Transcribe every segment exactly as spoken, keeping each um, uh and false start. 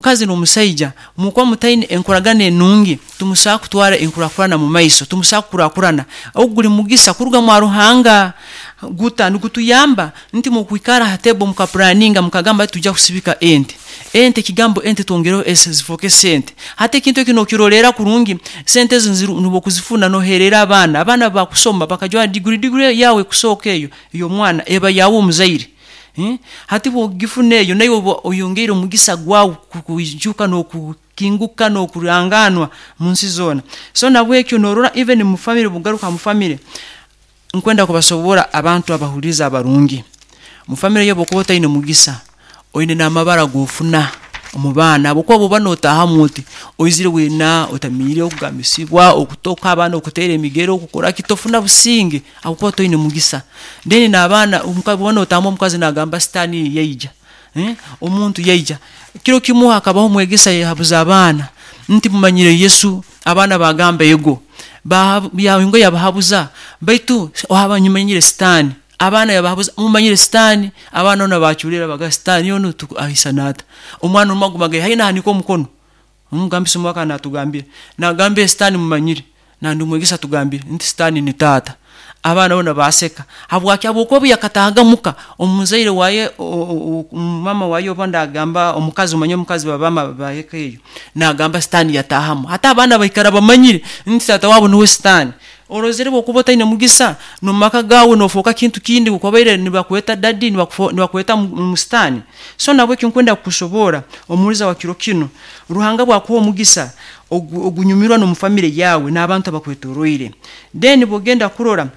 Omukazi n'omusaija mukuba mutaine enkoragana enungi, tumusobola kutwara enkurakurana mu maiso, tumusobola kukurakurana. Ogu guli mugisa kuruga mwa Ruhanga, guta nigutuyamba nti mukwikara ha table mukaplanninga, mukagamba tujja kusibika ente. Ente, ekigambo ente twongereho s zifooke sente. Hati ekintu eki nokirolerra kurungi, sente ezi nubwo okuzifuna nohererra abaana, abaana bakusoma bakajwara degree, degree yawe ekusooka eyo ey'omwana eba yawe omuzaire. Hati bwogifuna eyo, naiwe oba oyongeire omugisa gwawe kwijuka n'okukinguka n'okuranganwa munsi zoona. So nahabwekyo norora even mu family, obu okugaruka mu family, nkwenda kubasoborra abantu abahuliiriza abarungi, mu family yaawe obu okuba otaine mugisa, oine n'amabara agofuna omu baana, habwokuba obu oba notaahamu oti, oizire weena otamiire, okugambisibwa, okutoka, abaana okuteera emigero, okukoraki, tofuna businge habwokuba toine mugisa. Then n'abaana obu oba notaahamu omukazi nagamba sitaani yaija, omuntu yaija. Kiro kimu hakabaho omwegesa yahabuza abaana nti mumanyire Yesu? Abaana bagamba ego. Yayongera yabahabuza, baitu mumanyire sitaani? Abaana yabahabuza, mumanyire sitaani? Abaana boona baculeera, bagamba sitaani onu aisana ata? Omwana omu aguma naihayo nahanika omukono, omugambisa omu akaba natugambira, nagamba sitaani mumanyire, nandi omwegesa atugambire nti sitaani ni taata. Abaana boona baseka. Habwaki? Habwokuba obu yakataahaga muka, omuzaire waye, mama waye oba nagamba omukazi, omanyire omukazi baba baheka eyo, nagamba sitaani yataahamu. Hati abaana baikara bamanyire nti taata wabo nuwe sitaani. Orozere obu okuba otaine mugisa, nomumaka gaawe nofooka kintu kindi, obu okubaire nibakweta daddy, nibakweta sitaani. So nahabweki nkwenda kukusoborra omuhuliiriza wa kiro kinu, Ruhanga obu akuha omugisa, ogunyumirwa nomu family yaawe n'abantu abakwetoroire. Then obu ogenda kurora,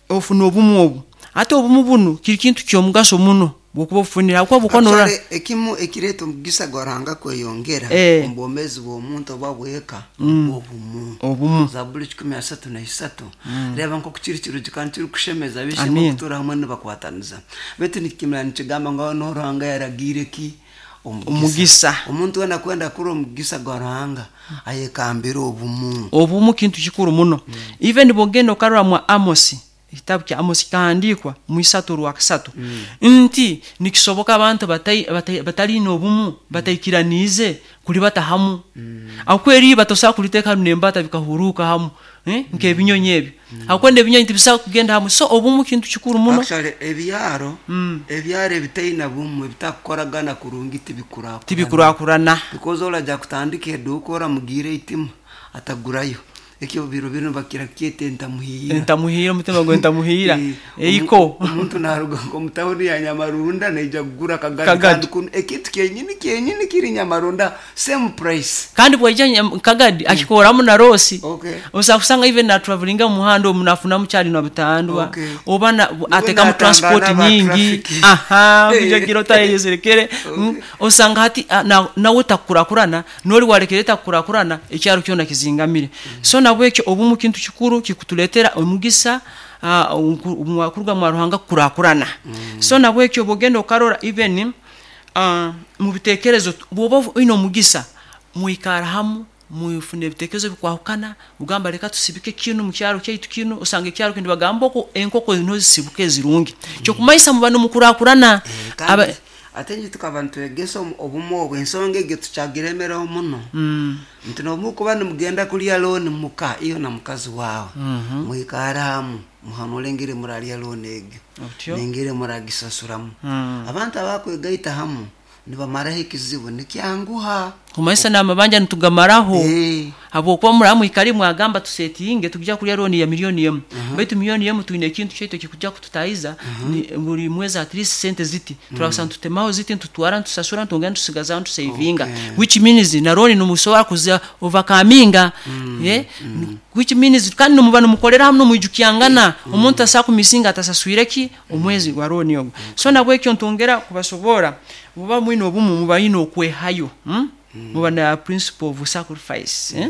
ofuna obumu obu, hati obumu bunu kiri kintu ky'omugaso muno obu okuba obufunire habwokuba obu okuba norora. Actually ekimu ekireeta omugisa gwa Ruhanga kweyongera omu bwomeezi bw'omuntu oba bw'eka nubwo obumu. Obumu. Zaburi kikumi asatu na isatu, reeba nk'oku kiri kirungi kandi kirikushemeza ab'eishe-emwe kutuura hamwe nibakwataniza. Beitu nikimara nikigamba ngu aho niho Ruhanga yaragiire ki? Omugisa. Omuntu weena akwenda kurora omugisa gwa Ruhanga, ayekambire obumu. Obumu kintu kikuru muno. Even obu ogenda okarora mwa Amosi, ekitabu kya Amosi kikahandiikwa mu isatu orwakasatu, nti nikisoboka abantu batali n'obumu, bataikiraniize kulibata hamu? Habwokuba eriiba tosobola kuliteeka hamu n'embata bikahuruuka hamu nk'ebinyonyi ebi, habwokuba n'ebinyonyi tibisobola kugenda hamu. So obumu kintu kikuru muno. Actually ebyaro, ebyaro ebitaine bumu, ebitakukoragana kurungi, tibikurakurana. Tibikurakurana. Because orajya kutandika eduuka oramugiire eitima atagurayo. Ekyo biro binu bakira kukyeta entamuhiira. Entamuhiira, omutima gw'entamuhiira eiko. Omuntu naruga nk'omu tawuni ya Nyamarunda naija kugura akagadi, Kagadi. kandi kunu ekintu kyenyini kyenyini kiri Nyamarunda, same price. Kandi bwaija Kagadi akikoramu na loss. Okay. Osobola kusanga even natravelinga omu muhanda omu nafunamu kyali na butandwa, Okay. oba na- atekamu natangana transport aba nyingi, traffic. aha, kujagira otayeserekere. Okay. Osanga hati na- nawe takukurakurana, nori warekere takukurakurana, ekyaro kyona kizingamire. So nabwekyo obumu kintu kikuru kikutuletera omugisa kuruga mwa Ruhanga kukurakurana. So nabwekyo obugenda okarora even uh, mu bitekerezo, bwoba oine omugisa, mwikara hamu, mwifuna ebitekerezo bikwahukana, ugamba leka tusibike kinu mukyaro kyaitu kinu, osanga ekyaro kinu bagamba oku enkoko niho zisibuka ezirungi, kyokumaisa muba nimukurakurana. Eh, kandi ate nje tukaba nitwegesa omu- obumu obwo, ensonga egyo tukyagiremeraho muno, nti nomukuba nimugenda kulya loan muka, iyo na mukazi wawe mwikare hamu, muhanure engeri murarya loan egyo Otyo. nengeri muragisasuramu. Abantu abakwegaita hamu nibamaraho ekizibu, nikyanguha. Kumaisa n'amabanja nitugamaraho. Eh. Habwokuba muraba mwikali mwagamba tusetinge tujja kulya loan ya miliyoni emu, baitu miliyoni emu twine ekintu kyaitu ekikujja kututahiza ni buri mwezi at least sente ziti, turabusa nitutemaho ziti, nitutwara, nitusasura, nitwongera nitusigazaho, nitusavinga, Okay. which means na loan nimusobora kuza overcominga, eh? Which means kandi nimuba nimukolera hamu, nomwijukyangana, omuntu asobola kumisinga atasaswire ki omwezi gwa loan ogwo. So nabwekyo ntongera kubasobora, muba mwine obumu, muba yine okwehayo, hmm? Muba na principle of sacrifice, eh?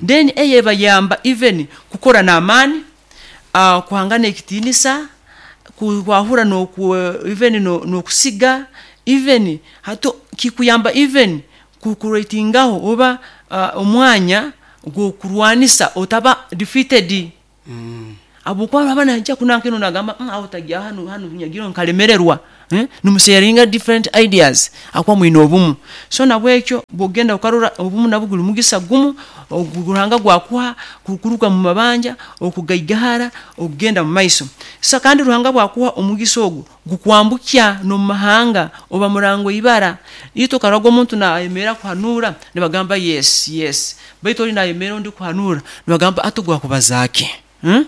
Then eyo ebayamba even kukora n'amaani, uh, kuhangana ekitiinisa, kwahura noku even no- n'okusiga, even hato kikuyamba even kukuretingaho oba uh, omwanya gw'okurwanisa otaba defeated, habwokuba aba naija kunankeno nagamba, mm, aho tagya hanu hanu nyagiro nkalemererwa. eh? Nimusharinga different ideas akuba mwine obumu. So nabwekyo bwogenda ukarora obumu nabwo guli mugisa gumu Ruhanga gwakuha kuruga mu mabanja okugaigahara okugenda mu maiso. Sa kandi Ruhanga bwakuha omugisa ogu gukwambukya n'omumahanga oba murango ibara ito karago omuntu nayemera kuhanura nibagamba yes yes, baitu oli nayemera ondi kuhanura nibagamba ati gwakubazaaki, hmm?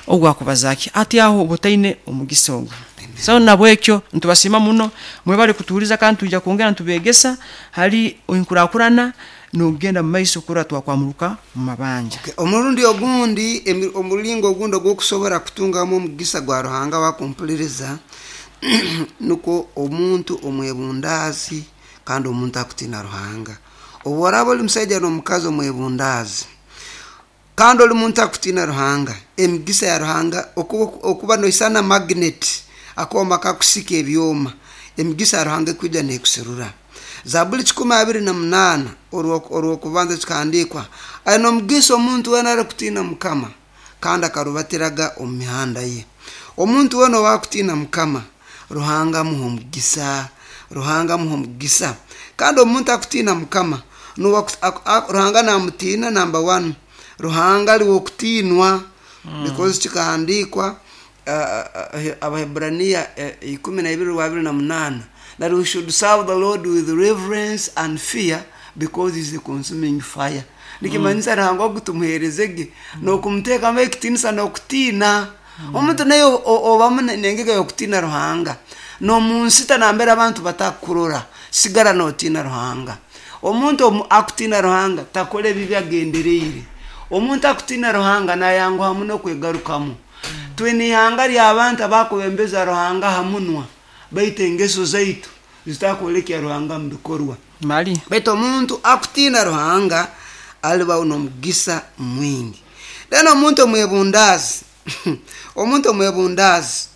Ogwakubazaaki ati aho obotaine omugisa ogu. So nabwekyo ntubasiima muno mwebale kutuhuliza kandi twija kwongera ntubegesa hali enkurakurana nogenda mu maiso kurora twakwamuruka mu mabanja. Okay. Omurundi ogundi omulingo ogundi ogw'okusobora kutungamu omugisa gwa Ruhanga wakumpuliriza nuko omuntu omwebundaazi kandi omuntu akutiina Ruhanga. Obu oraaba oli musaija n'omukazi omwebundaazi kandi oli muntu akutiina Ruhanga, emigisa ya Ruhanga okuba noisana magnet akooma kakusika ebyoma, emigisa ya Ruhanga ekwija neekuserura. Zabuli kikumi abiri na munaana orw'okubanza kikahandiikwa, aine omugisa omuntu weena arikutiina Mukama kandi akarubatiraga omu mihanda ye. Omuntu weena owakutiina Mukama, Ruhanga amuha omugisa, Ruhanga amuha omugisa. Kandi omuntu akutiina Mukama, Ruhanga namutiina number one. Ruhanga ali w'okutiinwa because kikahandiikwa Abaheburaniya ikumi na ibiri rwabiri na munaana, that we should serve the Lord with reverence and fear because he is a consuming fire. Nikimanyisa Ruhanga ogu tumuheerezege n'okumuteekamu ekitiinisa n'okutiina. Omuntu naye obamu n'engege y'okutiina Ruhanga, n'omunsita nambere abantu batakukurora, sigara n'otiina Ruhanga. Omuntu akutiina Ruhanga takora ebibi agendereire. Omuntu akutiina Ruhanga nayanguha muno kwegarukamu. Twine ihanga ly'abantu abakubembeza Ruhanga ha munwa, baitu engeso zaitu zitakwolekya Ruhanga mu bikorwa. Mali. Baitu omuntu akutiina Ruhanga alibaho n'omugisa mwingi. Then omuntu omwebundaazi omuntu omwebundaazi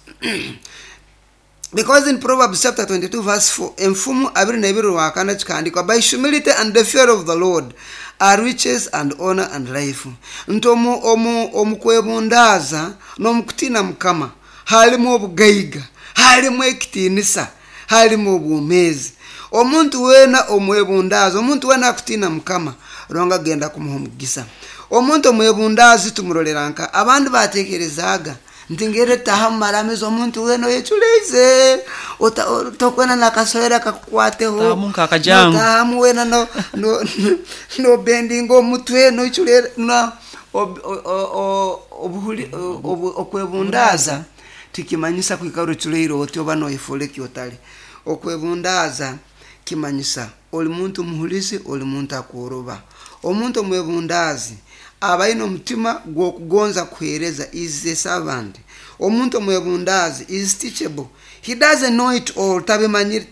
because in Proverbs chapter twenty-two verse four, enfumu abiri na ibiri rwakana kikahandikwa, by humility and the fear of the Lord are riches and honor and life. Nti omu omu omukwebundaaza n'omukutiina Mukama halimu obugaiga, halimu ekitiinisa, halimu obwomeezi. Omuntu weena omwebundaazi, omuntu weena akutiina Mukama, Ruhanga agenda kumuha omugisa. Omuntu omwebundaazi tumurolera nka abandi batekerezaaga nti ngere taha mumaramizo omuntu weena oyeculeize tokwena nakasohera kakukwateho notahamu weena no no no bendinga omutwe noiculera na obuhuli okwebundaaza tikimanyisa kwikara oculeire oti oba noyefura eki otali. Okwebundaaza kimanyisa oli muntu muhulizi, oli muntu akworoba. Omuntu omwebundaazi aba aine omutima gw'okugonza kuheereza, is a servant. Omuntu omwebundaazi is teachable. He doesn't know it all, tabimanyire,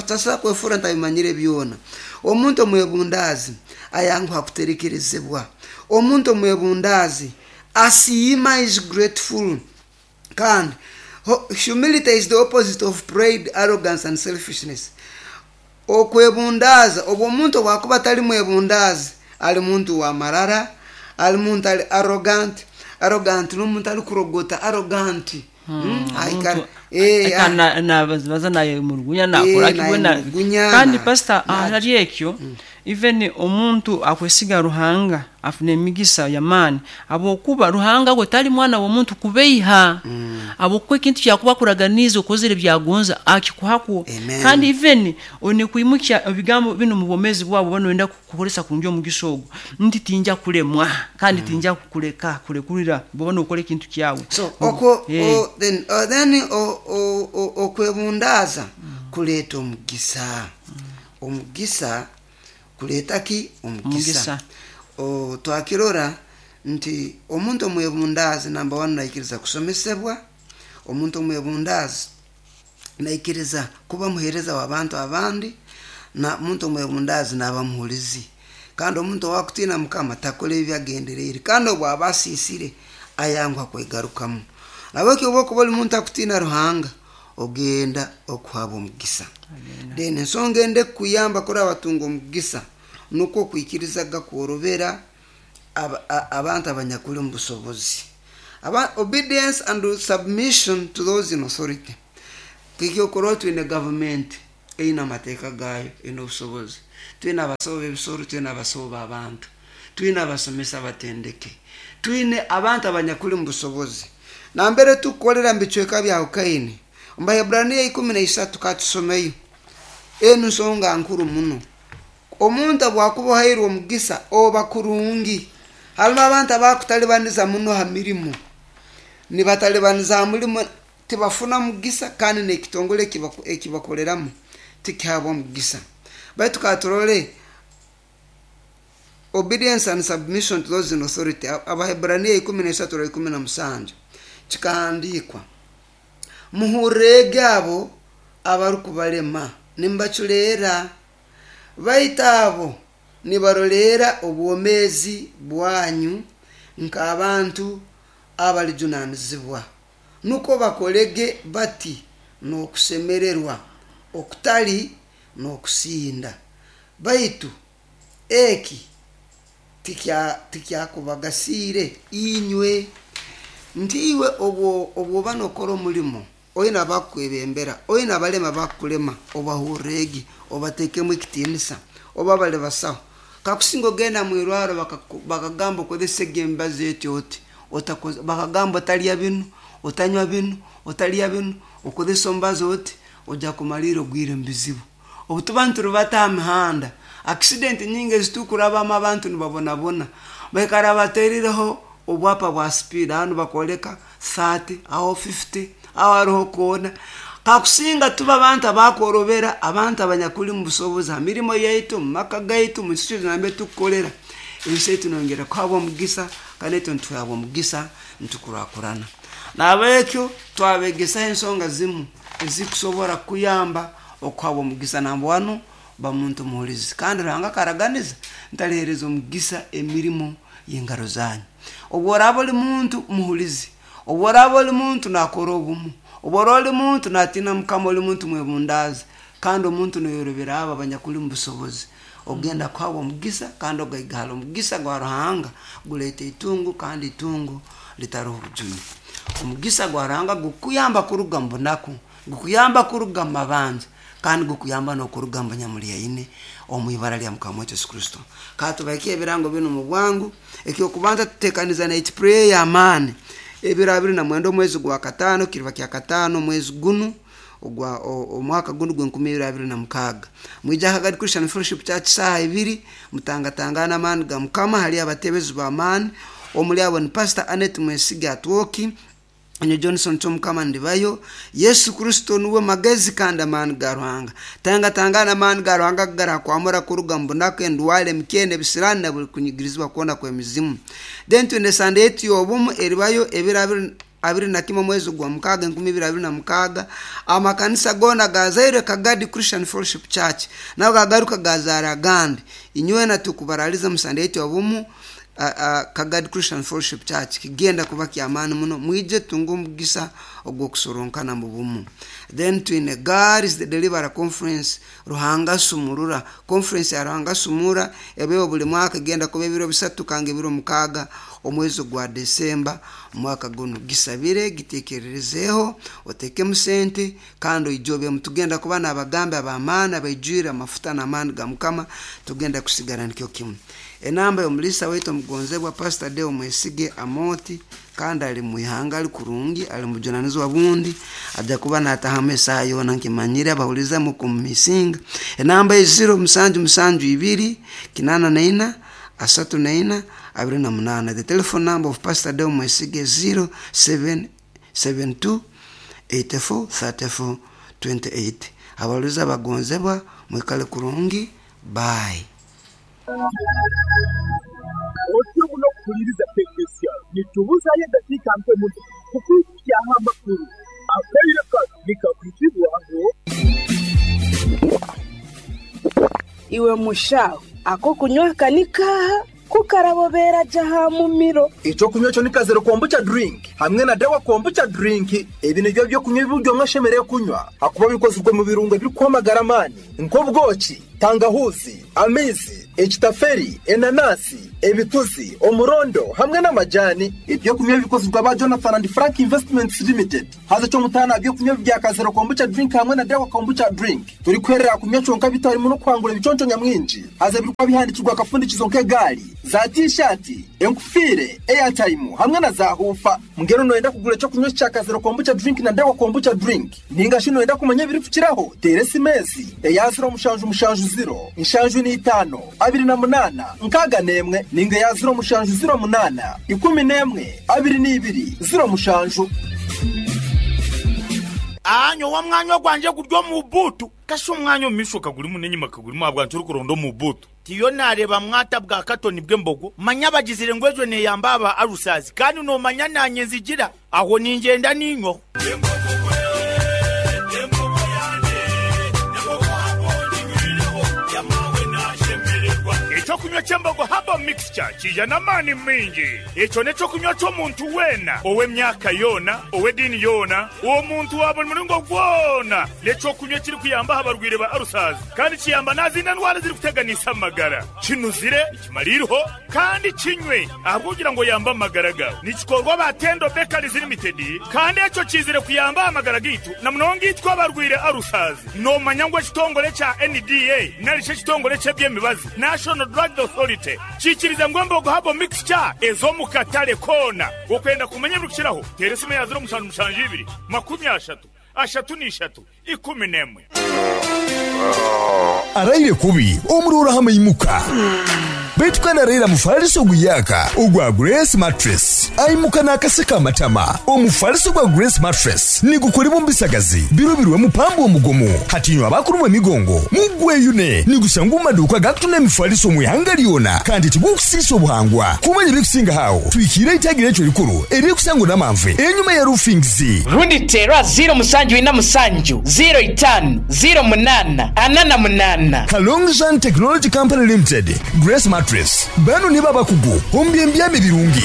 tasobola kwefura ntabimanyire byona. Omuntu omwebundaazi ayanguha kuterekerezebwa. Omuntu omwebundaazi asiima, is grateful. Kandi humility is the opposite of pride, arrogance and selfishness. Okwebundaaza, obwo omuntu obwakuba atali mwebundaazi, ali muntu wa marara, ali muntu ali arrogant. Arrogant n'omuntu alikurogota, arrogant. Baza naye murugunya nakora kibona. Kandi pastor ahali ekyo, even omuntu akwesiga Ruhanga afune emigisa yamaani, abokuba Ruhanga gwe tali mwana w'omuntu kubeiha, abokuba ekintu kyakuba kuraganiza okozere byagonza akikuhako. Kandi even one kwimukya ebigambo bino mu bwomezi bwabo bano kukukolesa kurungi omugisa ogwo, nti tinja kulemwa kandi tinja kukuleka kulekulira bwobona okora ekintu kyawe. So oko then then okwebundaaza kuleeta omugisa. Omugisa kuleeta ki? Omugisa. Twakirora nti omuntu omwebundaazi namba one naikiriza kusomesebwa. Omuntu omwebundaazi naikiriza kuba muheereza w'abantu abandi, na omuntu omwebundaazi naaba muhulizi. Kandi omuntu owakutiina Mukama takora ebi agendereire, kandi obu aba asiisire ayanguha kwegarukamu. Nabwekyo obu okuba oli muntu akutiina Ruhanga, ogenda okuhabwa omugisa. Then ensonga ende kuyamba kuraba batunga omugisa nukwo kwikirizaga kworobera abantu abanyakuli omu busobozi. Obedience and submission to those in authority. Kekyokurora twine gavumenti eine amateeka gayo, eine obusobozi, twine abasawo b'ebisoro, twine abasawo b'abantu, twine abasomesa abatendeke, twine abantu abanyakuli mu busobozi. Nambere tukukolera mu bicweka byahukaine. Omu Baheburaniya ikumi na isatu katusomeyo enu nsonga nkuru muno. Omuntu obwakuba ohairwe omugisa oba kurungi. Harimu abantu abakutalibaniza muno ha mirimu, nibatalibaniza ha murimo tibafuna mugisa, kandi n'ekitongole ekibakoleramu tikihabwa omugisa. Baitu katurole obedience and submission to those in authority, Abaheburaniya ikumi na isatu ikumi na musanju kikahandikwa, muhurrege abo abarukubalema nimbaculeera, baitu abo nibaroleera obwomeezi bwanyu nk'abantu abalijunanizibwa, nuko bakolege bati n'okusemererwa okutali n'okusinda, baitu eki tikyakubagasiire inywe. Nti iwe obwoba nokora omulimo, oine abakukwebembera, oine abalema bakukulema, obahurrege, obateekemu ekitiinisa, oba bali basaho. Kakusinga ogenda mwirwaro bakagamba okozesege emibazi eti oti, bakagamba otalya binu, otanywa binu, otalya binu, okozesa omubazi oti, ojja kumalira ogwire mu bizibu. Obu tuba niturubata aha mihanda, accident nyingi ezitukurabamo abantu nibabonabona, baikara baterireho obwapa bwa speed, hanu bakoleka thirty, aho fifty, aho hariho koona. Kakusinga tuba abantu abakorobera, abantu abanyakuli mu busobozi ha mirimo yaitu, mu maka gaitu, mu nsi nambere tukukolera, ensi yaitu nongera kuhabwa omugisa, kandi itwe nituhabwa omugisa nitukurakurana. Nahabwekyo twabegesaho ensonga zimu ezikusobora kuyamba okuhabwa omugisa. Namba wanu, ba muntu muhulizi, kandi Ruhanga akaraganiza ntalihereza omugisa emirimo y'engaro zanyu. Obu oraaba oli muntu muhulizi, obu oraaba oli muntu nakora obumu, obu oraaba oli muntu natina Mukama, oli muntu mwebundaazi, kandi omuntu noyorobera abo abanyakuli mu busobozi, ogenda kuhabwa omugisa kandi ogaigahara. Omugisa gwa Ruhanga guleeta itungo, kandi itungo litaroho obujune. Omugisa gwa Ruhanga gukuyamba kuruga mu bunaku, gukuyamba kuruga mu mabanja, kandi gukuyamba n'okuruga mu banyamulyaine omu ibara lya Mukama waitu Yesu Kristo. Katubaike ebirango binu mu bwangu. Ekyokubanza tutekaniza night prayer y'amaani ebiro abiri na mwenda omwezi gwa kataano, kiriba kya kataano omwezi gunu ogwa omwaka gunu gw'enkumi ibiri abiri na mukaaga. Mwija Kagadi Christian Fellowship Church saaha ibiri, mutangatangana amaani ga Mukama. Hali abatebezi b'amaani, omuli abo ni Pastor Annette Mwesiga Atwoki, Enyo Johnson Kyomukama ndibayo. Yesu Kristo nuwe magezi kandi amaani ga Ruhanga. Tangatangana amaani ga Ruhanga garakwamura kuruga mu bunaku, endwara, emikene, ebisirani na buli kunyigirizibwa kwona kw'emizimu. Then twine Sunday yetu y'obumu eribayo ebiro abiri abiri na kimwe omwezi gwa mukaaga enkumi ibiri abiri na mukaaga. Amakanisa goona gazaire Kagadi Christian Fellowship Church, nago gagaruka gazaara agandi. Inywena tukubaraliza mu Sunday yetu y'obumu Kagadi Christian Fellowship Church, kigenda kuba kyamaani muno, mwije tunge omugisa ogw'okusoronkana mu bumu. Then twine God is the Deliverer Conference, Ruhanga Sumurura. Conference ya Ruhanga Sumura ebeho buli mwaka, egenda kuba ebiro bisatu kanga ebiro mukaaga omwezi gwa Desemba omwaka guno. Gisabire, gitekererezeho, otekemu sente kandi oijobemu. Tugenda kuba n'abagambi ab'amaani abaijwire amafuta n'amaani ga Mukama, tugenda kusigara nikyo kimu. Enamba y'omulisa waitu omugonzebwa Pastor Deo Mwesige Amoti, kandi ali mwihanga ali kurungi, ali mujunanizibwa bundi, ajja kuba natahamu esaaha yoona nkimanyire, abahuliza mukumumisinga. Enamba ye ziro musanju musanju ibiri kinana na ina asatu na ina abiri na munana. The telephone number of Pastor Deo Mwesige zero seven seven two eighty four thirty four twenty eight. Abahuliza bagonzebwa mwikale kurungi, bye. Otyo muno kuhuliriza Tekesia nitubuzayo eddakiika nke muno kukwikyaho amakuru akaire kano nikakwitibwaho. Iwe mushaho ako kunywa kanikaha kukarabobera jaha mumiro. Ekyokunywa ekyo ni Kazero Kombucha drink hamwe na Dawa Kombucha drink. Ebi nibyo byokunywa ebiryo mwashemereye kunywa hakuba bikozwe mu birungo ebirikwamagara amaani nk'obwoki, tangahuzi, amaizi, ekitaferi, enanasi, ebituzi, omurondo hamwe n'amajani. Ebyokunywa bikozirwa ba Jonathan and Frank Investments Limited. Haza cyo mutana ebyokunywa bya Kazero Kombucha Drink hamwe na Dawa Kombucha Drink. Turi kwerera kunywa cyonka bitarimo no kwangura ibiconco nyamwinji. Haza birikwa bihandikirwa akafundikizo nk'egali, za t-shirt, enkufire, airtime hamwe na za hufa. Mugero noenda kugura cyo kunywa cya Kazero Kombucha Drink na Dawa Kombucha Drink. Ninga shino enda kumanya biripfukiraho. Teresi mezi eya zero mushanju mushanju zero inshanju ni itano abiri na munana nkaga nemwe ninga ya zero mushanju zero munana ikumi nemwe abiri n'ibiri zero mushanju. Anyo wa mwanyo gwanje guryo mu butu kasho mwanyo mishoka guri munenyi makaguri mabwa nchuru mu butu tiyo nareba mwata bwa katoni bw'embogo manya bagizire ngwejo ne yambaba arusazi kandi no manya nanye nzigira aho ningenda ninyo. Echokunywa ky'embogo haba mixture kijana mani mingi. Echo nechokunywa ky'omuntu wena ow'emyaka yona ow'edini yona omuntu wa buli muringo gwona. Nechokunywa kiri kuyamba abarwire ba arusazi kandi kiyamba nazinda ndwara ziri kuteganisa amagara. Kinuzire kimaliriho kandi kinywe ahabwugira ngo yamba amagara gawe. Nikikorwa ba Tendo Bakeries Limited kandi echo kizire kuyamba amagara gitu na munonga itwa abarwire arusazi. No manyangwa kitongole cha N D A nalishe kitongole ky'ebyemibazi National Drug Authority chikiriza ngombo habo mixture ezo mukatale kona. Okwenda kumenya birukiraho teresime ya zero mushanju mushanju ibiri makumi ashatu ashatu n'ishatu ikumi n'emwe. Araire kubi omurora hama imuka Baitu kana raila mufaliso guyaka ogwa Grace Mattress aimuka nakaseka amatama. Omufaliso gwa Grace Mattress nigukolebwa mbisagazi birobirwe mupambo omugomo hatinywa abakulumwa emigongo mugweyune nigusanga maduka gakutuna emifaliso mwihanga lyona kandi tigukusisa obuhangwa kumanya ebikusinga hawo twikire itagira ekyo likuru erikusangwa n'amanve enyuma ya roofings rundi tera zero musanju ina musanju zero itanu zero munana anana munana. Kalongjan Technology Company Limited Grace Mattress bano ni babakugu ombyembyame birungi.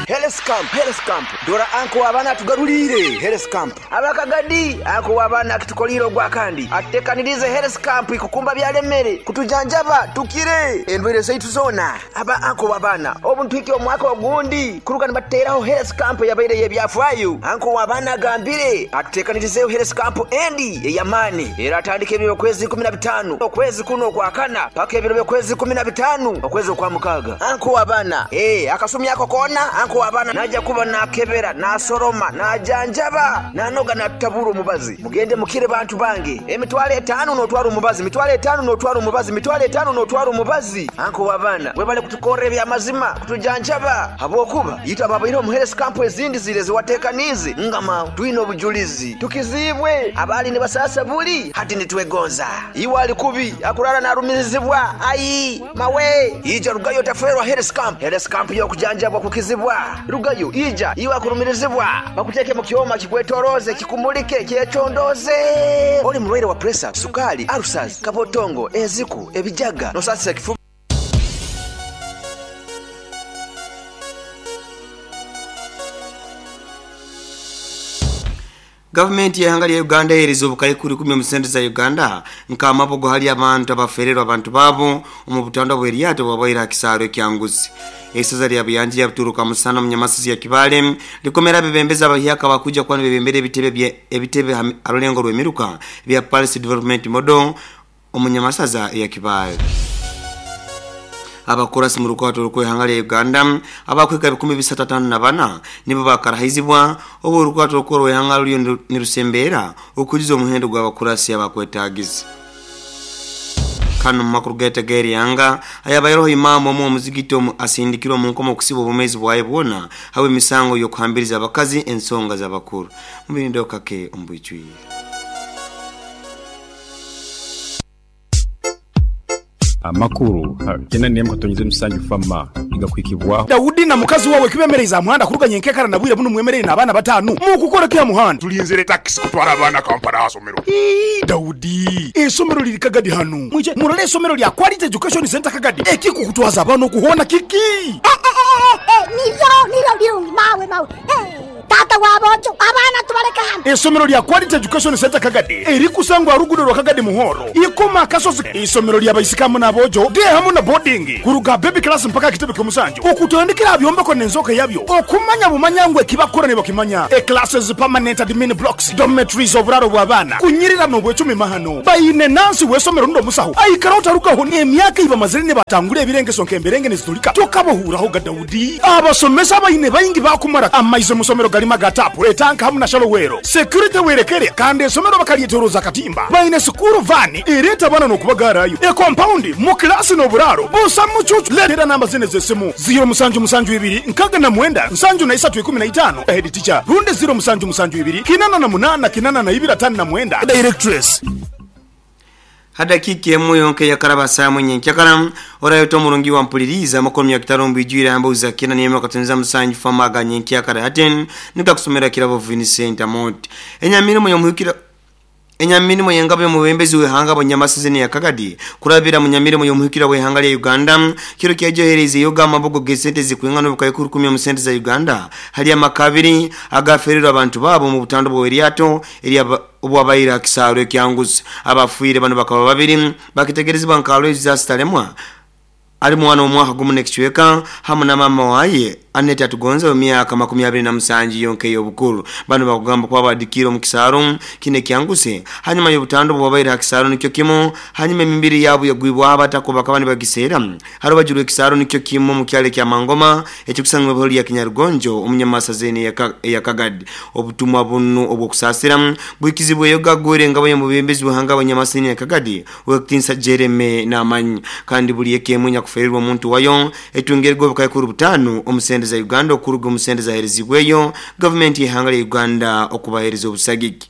Health Camp, Health Camp. Dora anko abana tugarulire Health Camp. Abakagadi anko abana kitukoliro gwa kandi. Atekanirize Health Camp ikukumba byalemere kutujanjaba tukire endwere zaitu zona. Aba anko abana obuntu iki omwaka ogundi kuruka nibateraho Health Camp yabaire yebyafwayo. Anko abana gambire atekanirize Health Camp endi eyamani. Era atandike ebiro kwezi kumi na bitano okwezi kuno kwa kana paka ebiro kwezi kumi na bitano okwezi kwa mukaga. Anko abana eh akasumi yako kona anko abana naja kuba nakebera nasoroma najanjaba nanoga natabura omubazi. Mugende mukire bantu bange emitwale etano notwara omubazi mitwale etano notwara omubazi mitwale etano notwara omubazi. Anko abana webale kutukorera ebyamazima kutujanjaba habwokuba yita babaire mu Health Camp ezindi zire ziwatekanize ngama twine obujulizi tukizibwe abali ne basasa buli hati nitwegonza iwali kubi akurara narumirizibwa ayi mawe ija rugayo taferwa Health Camp. Health Camp yo kujanjabwa kukizibwa rugayo ija iwa kurumirizibwa bakuteke mu kyoma kikwetoroze kikumulike kyecondoze. Oli mulwaire wa pressure, sukali, ulcers, kabotongo, eziku, ebijaga nosasa kifu. Government ya hanga ya Uganda erizo bukaikuri kumi omusente za Uganda nka amabogo hali abantu abafererwa abantu babo omubutanda bw'eryato bwabaira kisaro kyanguzi. Esaza lya buyanja ya buturuka musana munyamasizi ya Kibale likomera bebembeza abahyaka bakuja kwani bebembere ebitebe bya ebitebe arulengo rw'emiruka bya Palace Development Model omunyamasaza ya Kibale. Abakorasi mu rukwato rw'ihanga lya Uganda abakweka bikumi bisatu tano na bana nibo bakarahizibwa obo rukwato rw'ihanga ryo nirusembera okujiza omuhendo gw'abakorasi abakwetagiza. Kano makuru gete geri yanga ayabayero imamu omu omuzigiti omu asindikirwa mu nkomo okusiba obumezi bwaye bwona hawe misango yokuhambiriza abakazi ensonga z'abakuru mubirindo kake ombwijwi. Amakuru tena ni mkatonyize msanju fama igakwikibwa Daudi na mukazi wawe kibemereza muhanda kuruganye nkekara nabwire buno mwemerere nabana batanu mukukora kya muhanda tulinzire taxi kutwara abana Kampala asomero. Ii Daudi esomero liri Kagadi hanu mwije murale esomero lya Quality Education Center Kagadi ekikukutwaza abana okuhona kiki Nivyo nivyo birungi mawe mawe. Tata w'abojo abaana tubaleke hano. Isomero lya Quality Education Center Kagadi erikusangwa rugudo rwa Kagadi Muhoro ikoma akasozi. Isomero lya baisikamu n'abojo de hamu na boarding kuruga baby class mpaka kitebe ky'omusanju okutandikira byombeko n'enzoka yabyo okumanya bumanyangwe kibakora ne bakimanya. E classes, permanent admin blocks, dormitories, oburaro bw'abaana kunyirira n'obwecumi mahano bayine nansi w'esomero ndo musaho aikara otarugaho n'emyaka ibamazire ne batangura ebirengeso nk'emberenge nezitulika tokabohuraho ga Daudi. Abasomesa bayine bayingi bakumara amaize musomero galima gatapu etanka hamu na shalowero security werekere kandi esomero bakalyetoroza katimba bayine sukuru vani ereta bana n'okubagarayo e compound mu klasi n'oburaro busa mucucu. Letera namba zine z'esimu zero musanju musanju ibiri nkaga na mwenda nsanju na isatu ikumi na itano head teacher runde zero musanju musanju ibiri kinana na munana kinana na ibiri atano na mwenda directress. Hadakiki emu yonke ya karaba saa mwenye nkyakara orayoto murungi wa mpuliriza makomi ya kitarumbu ijwira ambuza kina niyema katunza musanju famaga nyenkyakara haten nika kusomera kirabo Vincent Amot. Enyamirimo yomuhukira Enyamirimo yengabo yomubembezi wehanga bonyamasizi ya Kagadi kurabira munyamirimo yomuhukira wehanga ya Uganda kiro kyajohereze yoga amabogo gesente zikwingana bukayikuru kumi mu sente za Uganda hali amakabiri agaferera abantu babo mu butando bwo eriato eri obwabayira kisaro ekyanguzi abafuire bano bakaba babiri bakitegerezwa nkalo ezasitalemwa ali mwana omwaka gumu nekichweka hamu na mama waye Anete atugonza emyaka makumi abiri na musanju yonke y'obukuru. Bano bakugamba kwa badikiro mu kisaro kine kyanguse hanyuma y'obutando bwabaira kisaro nikyo kimu hanyuma emibiri yabo yagwibwa abatako bakaba nibagisera harubajuru ekisaro nikyo kimu mu kyale kya Mangoma ekikusangwa bholi ya Kinyarugonjo omunyamasazeni ya Kagadi. Obutumwa bunu obwokusasira bwikizibwe yoga gore ngabo y'omubembezi buhanga abanyamasazeni ya Kagadi wekitinsa Jereme namanyi kandi buli ekemwe nyakufererwa omuntu wayo etungerwa bukayikuru butano omusende za Uganda okuruga omusende za herezibweyo government yehanga ya Uganda okubahereza obusagiki.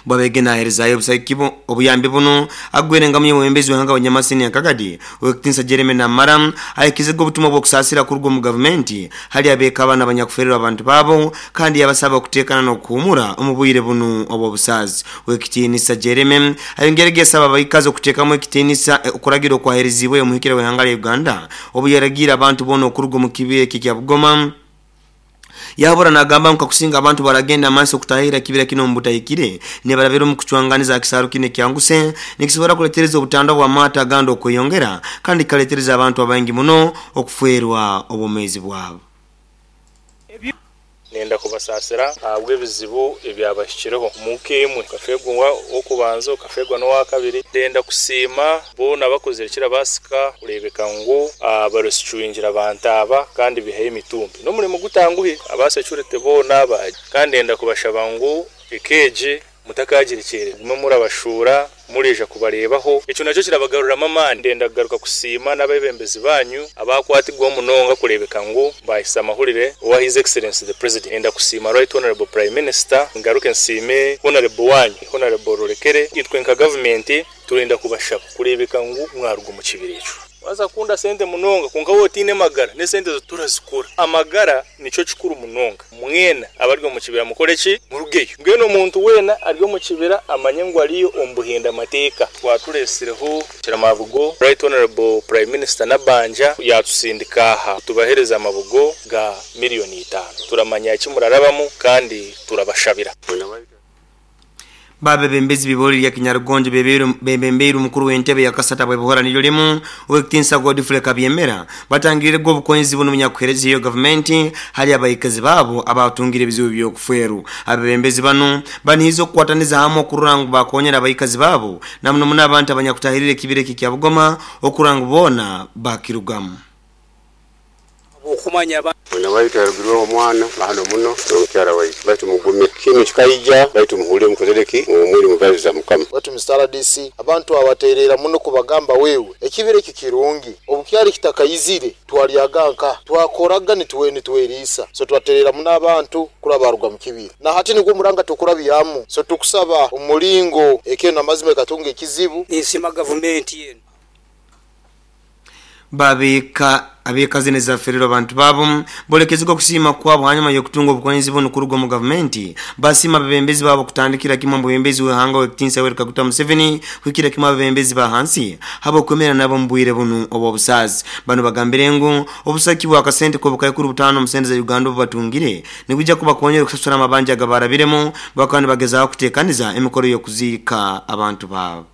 Bwabege na herezayo obusagiki obuyambi buno agwere ngamye mwembezi wahanga abanyamasini ya Kagadi wekitinsa Jereme na Maram ayikizego obutumwa bwokusasira kuruga mu government hali abeka abana abanyakufererwa abantu babo kandi yabasaba okutekana n'okuhumura omubwire bunu obwo busazi. Wekitinisa Jereme ayongerege saba abayikazi okutekamu ekitinisa okuragira okwaherezibwe omuhikira wehanga ya Uganda obuyaragira abantu bono okuruga mu kibira eki kya Bugoma. Yabura nagamba nkakusinga abantu baragenda maaso kutahira kibira kino mbutahikire ne barabero mu kucwanganiza kisaro kine kyanguse nikisobora kuletereza obutanda bwa mata gando okweyongera kandi kaletereza abantu abangi muno okuferwa obumezi bwabo. Nenda kubasasira abwe bizibu ebyabashikireho mukemwe kafegwa okubanza kafegwa no wakabiri. Ndenda kusima bona bakozere kira basika kurebeka ngo abarosicuingira abantu kandi bihaye imitumbi no mulimo gutanguhe abasecurite bona baje kandi ndenda kubashaba ngo ekeje mutakagirikere gume murabashura mureja kubarebaho eco nacyo kirabagarura mama. Ndenda kugaruka kusima n'abebembezi banyu abakwatigwa munonga kurebeka ngo bahisa amahurire wa His Excellency the President. Ndenda kusima Right Honorable Prime Minister, ngaruke nsime Honorable wanyu Honorable Rurekere itwe nka government turenda kubashaba kurebeka ngo mwarugo mu kibiri eco waza kunda sente munonga kunka wotine magara ne sente zo turazikora amagara nico kikuru munonga mwena abaryo mu kibira mukore ki murugeyo ngeno omuntu wena aryo mu kibira amanye ngo ariyo ombuhinda mateka twaturesireho kiramavugo Right Honorable Prime Minister Nabanja yatusindika aha tubahereza amabugo ga miliyoni itano turamanya iki murarabamu kandi turabashabira. Babe bembezi biboli ya Kinyarugonjo beberu bembemberu mukuru w'entebe ya kasata bwe nilyo limu wekitinsa Godfrey Kabyemera batangirire go bukonzi buno munyakuhereza iyo government hali abayikazi babo abatungire bizibu byo kuferu. Abebembezi bano banihizo kukwataniza hamwe okurangu bakonyera abayikazi babo namuno muna abantu abanyakutahirire kibire kya Bugoma okurangu bona bakirugamu. Okumanya nabayitarugirwa omwana hano muno omukyala waitu baitu mugume kinu kikaija baitu muhule mukozereki omuli mubaziza mukama baitu Mister R D C abantu abaterera muno kubagamba wewe ekibire kikirungi obukyali kitakayizire twalyaganka twakoraga nituwe nituwerisa so twaterera muno abantu kulabaruga mu kibire na hati nigwo muranga tukurabyamu so tukusaba omulingo ekeno amazima katunga ekizibu nisima government yenu. Babeka abekazi nezaferero abantu babo bolekezeko kusima kwabo hanyuma yokutunga obukonzi buno kuruga mu government basima bebembezi babo kutandikira kimwe mu bebembezi wehanga wekitinsa wereka kuta Museveni kwikira kimwe bebembezi ba hansi habo kwemera nabo mbwire bunu obo busazi bano bagambire ngu obusaki bwa kasente ko bukayikuru butano musende za Uganda batungire nikuja kuba konyera kusasura amabanja gabarabiremo bakandi bagezaho kutekaniza emikoro yo kuzika abantu babo.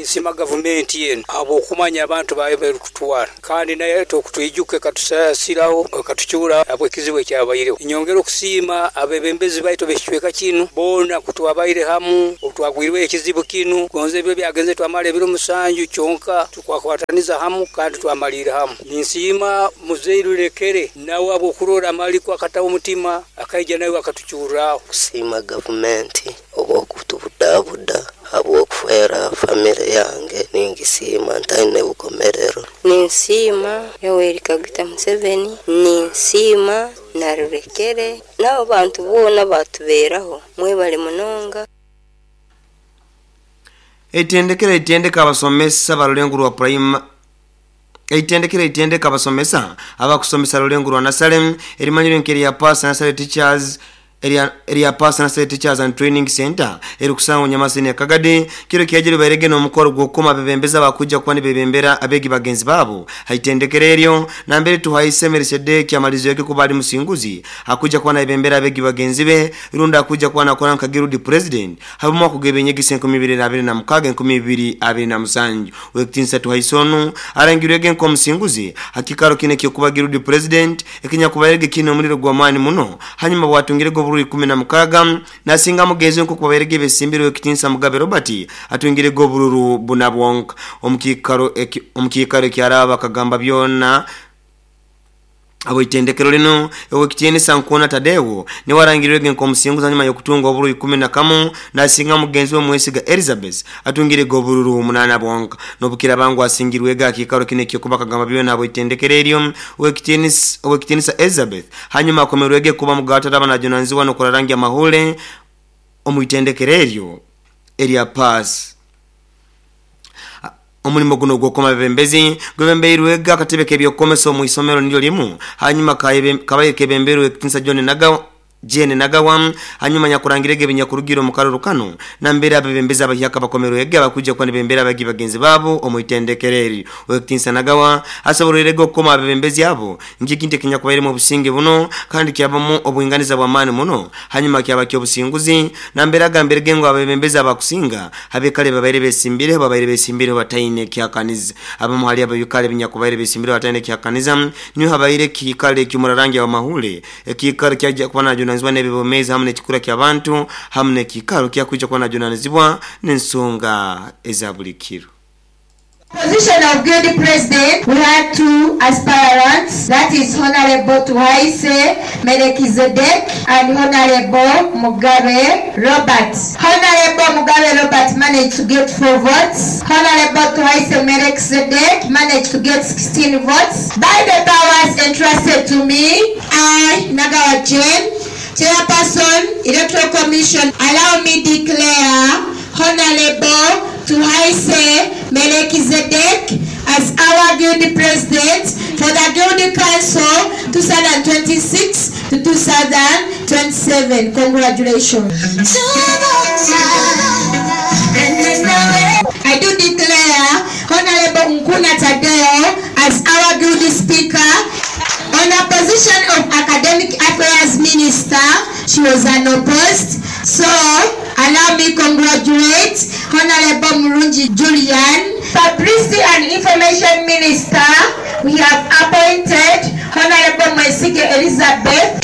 Isima gavumenti yenu abo okumanya abantu bayo berukutwara kandi naye tokutwijuke katusasiraho katucyura abo ekizibu ekyabayireho. Inyongera okusiima abebembezi baitu bekicweka kinu bona kutwabaire hamu otwagwirwe ekizibu kinu gonze ebyo byagenze twamala ebiro musanju kyonka tukwakwataniza hamu kandi twamalira hamu. Ninsiima muzeyi Rurekere nawe abo okurora amaliko akatawo omutima akaija nawe akatucyuraho. Kusiima gavumenti obwokutubudabuda habwokufera family yange ningisima ntaine bukomerero. Ninsiima Yoweri Kaguta Museveni, ninsiima na Rurekere nabo bantu boona batuberaho mwebale munonga. Etendekera etendeka abasomesa balulengu lwa prime Eitendekera etendeka abasomesa abakusomesa lulengu lwa Nasalem erimanyiro nkeri ya Pass Nasale Teachers area area Pass Nasale Teachers and Training Center erukusango nyamasini ya Kagadi kiro kiajiri bairege no mukoro gwokoma bebembeza bakuja kwani bebembera abegi bagenzi babo haitendekera eryo na mbere tuhaise Melchizedek amalizo yake kubali musinguzi hakuja kwa na bebembera abegi bagenzi be runda akuja kwa na kora nkagirudi president habumwa kugebenyegise enkumi ibiri na abiri na mukaga enkumi ibiri abiri na musanju wekitinsa tuhaisonu arangirwege nko musinguzi hakikaro kine kyo kubagirudi president ekinya kubairege kino omuliro gwa mani muno hanyuma bwatungire go ikumi na mukaga nasinga mugenzi nko kubaberege besimbiro ekitinsa Mugabe Robert atungire go bururu bunabwonka omukikaro omukikaro kyaraba kagamba byona abo itendekero lino ewekitinsa nkona Tadewo ni warangirwege nko musinguza nyuma yokutunga oburu ikumi na kamu nasinga mugenzi we Mwesiga Elizabeth atungire go bururu munana bwonka nobukira bangu asingirwega akikaro kine kyo kuba kagamba byona abo itendekero eryo wekitinsa wekitinsa Elizabeth hanyuma akomerwege kuba mugata tabana jonanziwa no kurarangi amahule omuitendekero eryo area pass. Omulimo guno gwokoma bebembezi gwebembeirwega akatebe k'ebyokukomesa omu isomero nilyo limu hanyuma kabaye kebembeirwe ekitinsa John Nagawa Jane Nagawa hanyuma nyakurangirege binyakurugiro mu karoro kano nambere abebembezi abahyaka bakomerwege abakuja kwa nibembera abagi bagenzi babo omuitendekereri wekitinsa Nagawa asoborerege okukoma abebembezi abo njikinte kinyakubaire mu businge buno kandi kyabamo obuinganiza bwa mani muno hanyuma kyaba kyo businguzi nambere agamberege ngo abebembezi abakusinga habekale babaire besimbire babaire besimbire bataine kyakaniza abamu hali abayukale binyakubaire besimbire bataine kyakaniza niyo habaire kikale kyumurarangi wa mahule ekikale kyajja kuba najo nzwa nebibomeza hamwe nekikura kya bantu hamwe nekikaro kyakuja kwa najunanizibwa n'ensonga ezabulikiro. Position of Guild President, we had two aspirants, that is Honorable Tuhaise Melchizedek and Honorable Mugabe Robert. Honorable Mugabe Robert managed to get four votes. Honorable Tuhaise Melchizedek managed to get sixteen votes. By the powers entrusted to me, I, Nagawa Jane, Chairperson, Electoral Commission, allow me declare Honorable Tuhaise Melchizedek as our Guild President for the Guild Council twenty twenty-six to twenty twenty-seven. Congratulations. I do declare Honorable Nkuna Tadeo as our Guild Speaker. On the position of Academic Affairs Minister, she was unopposed. So, allow me congratulate Honorable Murungi Julian. Publicity and Information Minister, we have appointed Honorable Mwesige Elizabeth.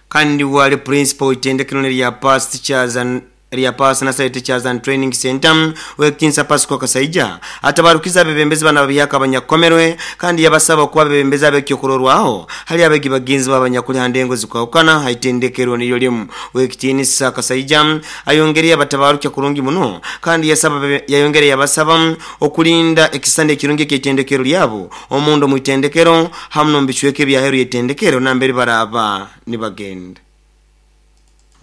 Kandi wali principal itendekero lya Pass Teachers and area Pass Nasale Teachers and Training Center wekitinsa Pasco Kasaija atabarukiza bebembezi bana babiyaka abanyakomerwe kandi yabasaba kuba bebembezi abekyokurorwaho hali abegi bagenzi babanyakuli handengo zikawukana haitendekero niyo limu wekitinsa Kasaija ayongereye abatabarukya kurungi muno kandi yasaba yayongereye yabasaba okulinda ekisande ekirungi ekitendekero lyabo omundo muitendekero hamno mbicweke bya heru yetendekero nambere baraba nibagenda.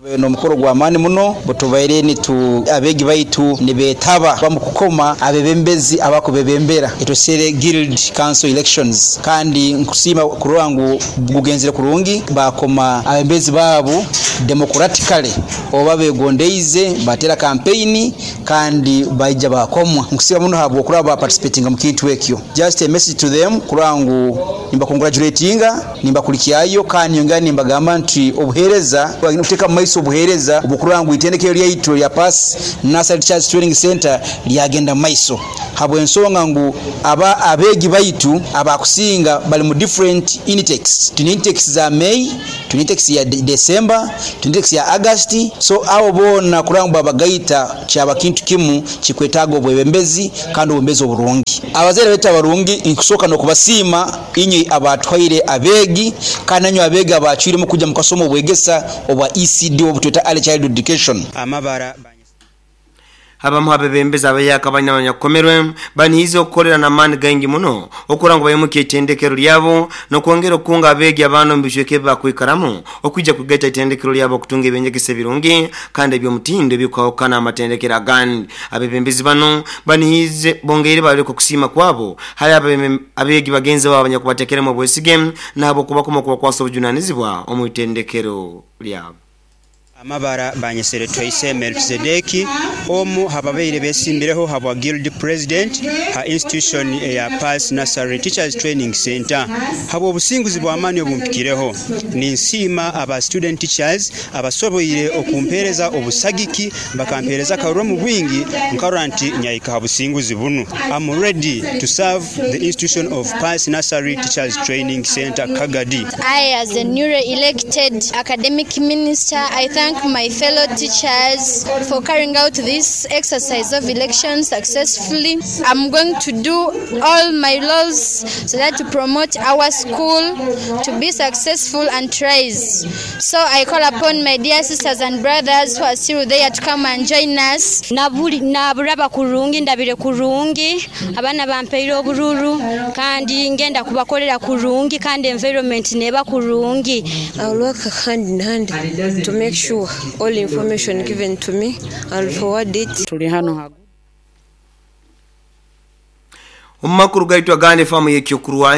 N'omukoro gw'amaani muno butubaire nitu abeegi baitu nibeetaba bamukukoma abebembezi abakubebembera etosere guild council elections, kandi nkusiima kurora ngu gugenzere kurungi, bakoma abembezi baabo democratically oba begondeize batera campaign kandi baija bakomwa. Nkusiima muno habwokuraba ba participating mu kintu ekyo. Just a message to them kurora ngu nimbakongratulatinga, nimbakulikyayo, kandi nyongera nimbagamba nti obuheereza kuteeka mu maiso obuheereza obukurora ngu itendekero lyaitu lya Pass Nursery Teachers Training Center lyagenda mu maiso, habw'ensonga ngu aba abeegi baitu abakusinga bali mu different intakes. Tuna intakes za May, tuna intakes ya De- December, tuna intakes ya August, so abo boona kurora ngu babagaita kyaba kintu kimu kikwetaaga obwebembezi kandi obwebembezi oburungi. Abazaire baitu abarungi nkusooka n'okubasiima inywe abatwaire abeegi, kandi nanywe abeegi abacwiremu kujja mukasoma obwegesa obwa E C D obutweta Early Childhood Education. Amabara abamu abebembezi abayaka abanyakomerwe banihize okukolera n'amaani gaingi muno okura ngu bayimuke itendekero lyabo n'okwongera okunga abeegi abaana mu bicweka ebi bakwikaramu okwijja kugaita itendekero lyabo okutunga ebyenyegesa ebirungi kandi eby'omutindo ebikwahukana amatendekero agandi. Abebembezi bano banihize bongeire baleka okusiima kwabo hali abeegi bagenzi babo abanyakubatekeremu obwesige nabo okubakoma okubakwasa obujunanizibwa omu itendekero lyabo. Amabara banyesere Twaise Melchizedeki omu hababeire besimbireho habwa guild president ha institution ya Pass Nursery Teachers Training Center. Habwa obusinguzi bw'amaani obumpikireho ninsiima aba student teachers abasoboire okumpereza obusagiki bakampereza karuro mu bwingi nkarora nti nyaika ha businguzi bunu. I'm ready to serve the institution of Pass Nursery Teachers Training Center Kagadi. I, as a newly elected academic minister, I thank my fellow teachers for carrying out this exercise of election successfully. I'm going to do all my roles so that to promote our school to be successful and rise. So I call upon my dear sisters and brothers who are still there to come and join us. Nabuli naburaba kurungi ndabire kurungi abana bampeire obururu kandi ngenda kubakolera kurungi kandi environment neba kurungi. I will work hand in hand to make sure all information given to me, I'll forward it. Tuli hano Omumakuru gaitwa gande famu yekyokurwa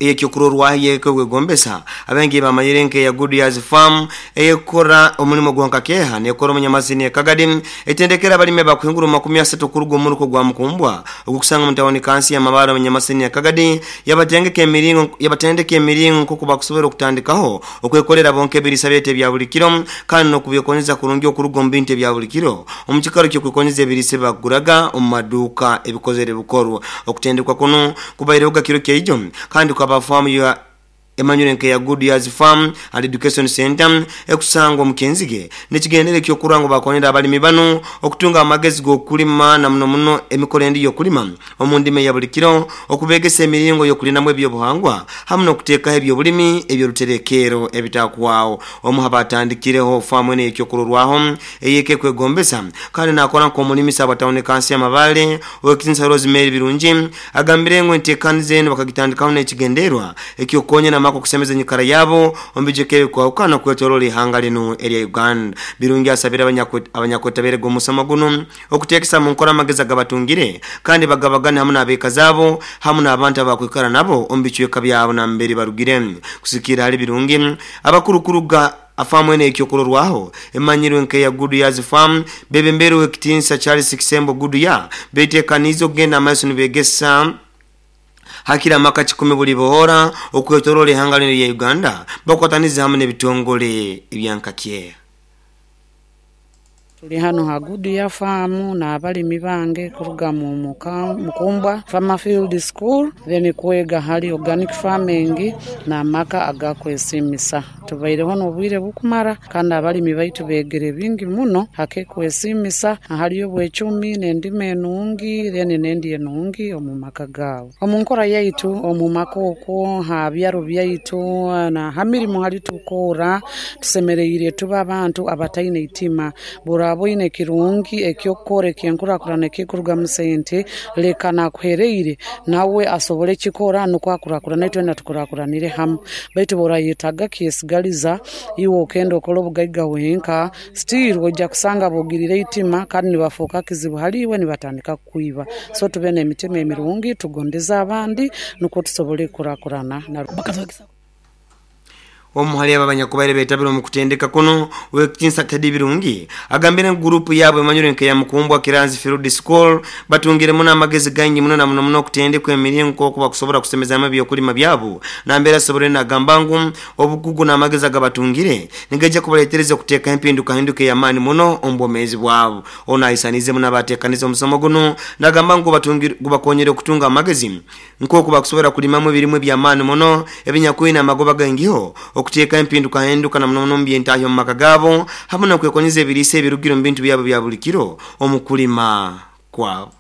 yekyokurorwa yekwegombesa abengi bamanyire nke ya Good Years Farm eyekora omulimo gwankakeha nekora omunyamasini ekagadi etendekera balime bakuhingura makumi asatu kurugo omuruko gwa mukumbwa ogukusanga mutawoni kansi ya mabara omunyamasini ekagadi yabatengeka emiringo yabatendeka emiringo nko bakusobora okutandikaho okwekolera bonke ebirisa byete bya buli kiro kandi nokubyekonyeza kurungi okurugo mu bintu bya buli kiro omukikaro kyo kwekonyeza ebirisa baguraga omu maduuka ebikozere bukorwa okutendeka kwa kuno kubaire uga kiro keijo kandi kwa famu ya Emmanuel nke ya Good Years Farm and Education Center ekusangwa mukenzige nekigendere kyo kurango bakonera abalimi bano okutunga amagezi gokulima na muno muno emikoro endi yokulima omundime ya buli kiro okubegesa emiringo yokulinamu ebyobuhangwa hamwe nokuteeka ebyobulimi ebyoruterekero ebitakwao omu habatandikireho famu ene ekyokurorwaho eyeke kwegombesa kandi nakora nko omulimi sabatawone kansi ya mabale owekitinsa Rosemary Birungi agambire ngo entekanize eno bakagitandikaho nekigenderwa ekyokonya na mako kusemeza nyikara yabo ombijekere kwa ukana kwetorola ihanga lino area Uganda. Birungi asabira abanyakotabere gomusama guno okutekesa mu nkora amagezi gabatungire kandi bagabagana hamwe n'abeka zabo hamwe n'abantu abakwikara nabo ombichweka byabo na mbere barugire kusikira hali Birungi abakurukuruga afamu ene ekyokurorwaho emanyirwe nke ya Good Years Farm bebembere wekitinsa Charles Kisembo Good Year betekanizo kugenda amaiso nibegesa hakira maka kikumi buli bohora okwetorola ihanga lino ya Uganda bakwataniza hamwe n'ebitongole ebyankakye. Tuli hano ha Good Year Farm na abalimi bange kuruga mu Mukumbwa Farmer Field School then kwega hali organic farming na maka agakwesimisa. Tubaireho n'obwire bukumara kandi abalimi baitu begere bingi muno hake kwesimisa haliyo bwecumi n'endima enungi then n'endi enungi omu maka gaabo. Omu nkora yaitu omu maka okwo ha byaro byaitu na ha mirimo hali tukora tusemereire tuba abantu abataine itima buraboine kirungi ekyokukora ekyenkurakurana ekikuruga mu sente leka nakuhereire nawe asobole kikora nukwo akurakurana itwena tukurakuranire hamwe baitu borayetaga kyesiga. nibakusigaliza iwe okenda okola obugaiga wenka still ojja kusanga bogirire itima kandi nibafuuka kizibu haliwe nibatandika kukwiba. So tube n'emitima emirungi, tugondeza abandi nukwo tusobole kurakurana. Omuhali abanyakubaire betabira mu kutendeka kuno wekitinsa Teddy Birungi agambire gurupu yabwe manyure nke ya Mukumbwa Kiranzi Field School batungire muno amagezi gangi muno na muno muno kutendekwa emiringo kuba kusobora kusemeza amabi okulima byabo nambera sobore na gambangu obukugu na amagezi agabatungire nigeje kubaletereza kuteka empinduka hinduke ya mani muno ombomezi bwabo. Ona isanize muno abatekaniza omusomo guno nagambangu batungire gubakonyere okutunga amagezi nko kuba kusobora kulimamu ebirimwe bya mani muno ebinyakwina amagoba gangiho okuteka empinduka hinduka na muno mbyentayo mu maka gabo hamwe no kwekonyeza ebirise ebirugiro mu bintu byabo bya buli kiro omukulima kwabo.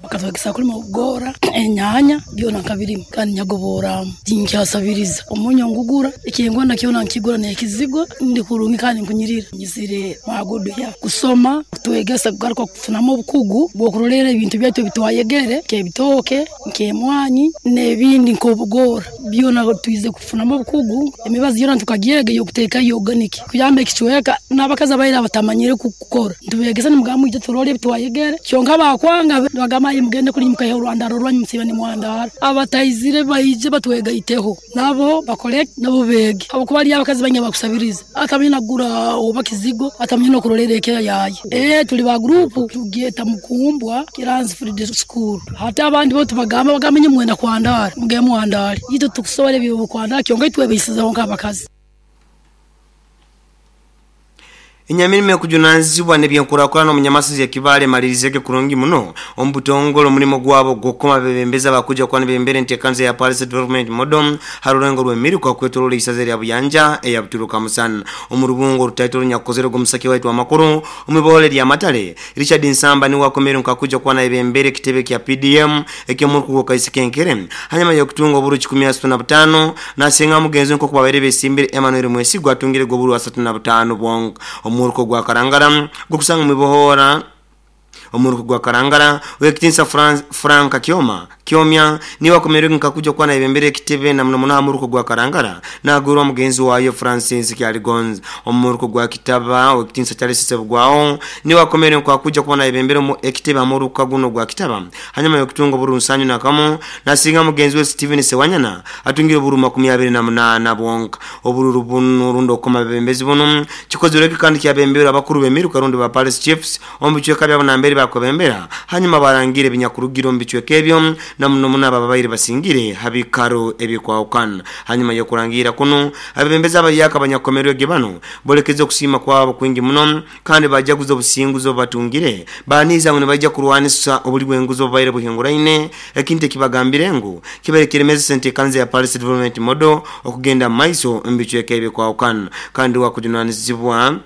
Bakatwegesa kulima ubugora enyanya byona nkabirima kandi nyagobora tinkyasabiriza omunyo ngugura ikingwa nakyona nkigura nekizigo ndi kurungi kandi nkunyirira nyizire magudu ya kusoma kutwegesa kugaruka kufunamo obukugu bwokurolera ebintu byaitu bitwayegere kebitoke nkemwanyi nebindi nkobugora byona tuize kufunamo obukugu emibazi yona tukagyega yokuteka organic kuyamba ekichweka nabakaza baira batamanyire kukora ntubegesa nimugamu ije turole bitwayegere kyonka bakwanga bagama mugende kuri mukaye Rwanda rorwanyu musiba ni mwandara abatayizire bayije batwegaiteho nabo bakole nabo bege abo kuba ari abakazi banya bakusabiriza atamye nagura oba kizigo atamye no kurorereke yaye eh tuli ba group tugeta Mukumbwa Kiranzi Field School hata abandi bo tubagamba bagamenye mwenda kwandara muge mwandara yito tukusobole byo kwandara kyonga itwebisizaho nk'abakazi. Inyamirime kujunanzibwa nebyankurakura omunyamasizi ya Kibale malirizeke kurungi muno omubutongolo mulimo gwabo gokoma bebembeza bakuja kwa nibembere ntekanze ya Paris Development Model harurengo rwemiruka kwetorola isaze lya Buyanja eya Buturuka musana omurubungo rutaitoro nyakozero gomusaki waitu amakuru omubole lya Matale Richard Nsamba ni wakomere nkakuja kwa nibembere kitebe kya P D M ekyomuruko kaisikenkere hanyuma yokutunga oburu kikumi asatu na butano nasenga mugenzi nko kubabere besimbire Emmanuel Mwesigwa atungire goburu asatu na butano bwongo omuruko gwa Karangara gukusanga mibohora omuruko gwa Karangara wekitinsa Franka Kioma Kiomya ni wakomerwe nkakuja kwa na ibembere kitebe na muno muno omuruko gwa Karangara nagurwa mugenzi wayo Francis Kyaligonz omuruko gwa Kitaba wekitinsa Charles Sebugwao ni wakomerwe nkakuja kwa na ibembere mu ekitebe amuruka guno gwa Kitaba hanyuma yokutunga buru nsanyu nakamo nasinga mugenzi we Steven Sewanyana atungire buru makumi abiri na munana bonka obururu bunu rundo koma bembezi buno kikozereke kandi kyabembera abakuru bemiruka rundo ba Palace Chiefs omucweka byabo nambere bakobembera hanyuma barangire binyakurugiro mbicweke ebyo na muno muno ababaire basingire habikaro ebikwaukana hanyuma yokurangira kuno abebembeza abayaka abanyakomerwe bano bolekeze okusima kwabo kwingi muno kandi bajaguza obusinguzo batungire baniza ngo bajja kurwanisa obuli bwenguzo baire buhinguraine ekinte kibagambire ngu kiberekere sente kanze ya Paris Development Model okugenda maiso mbicweke ebikwaukana kandi wakujunanizibwa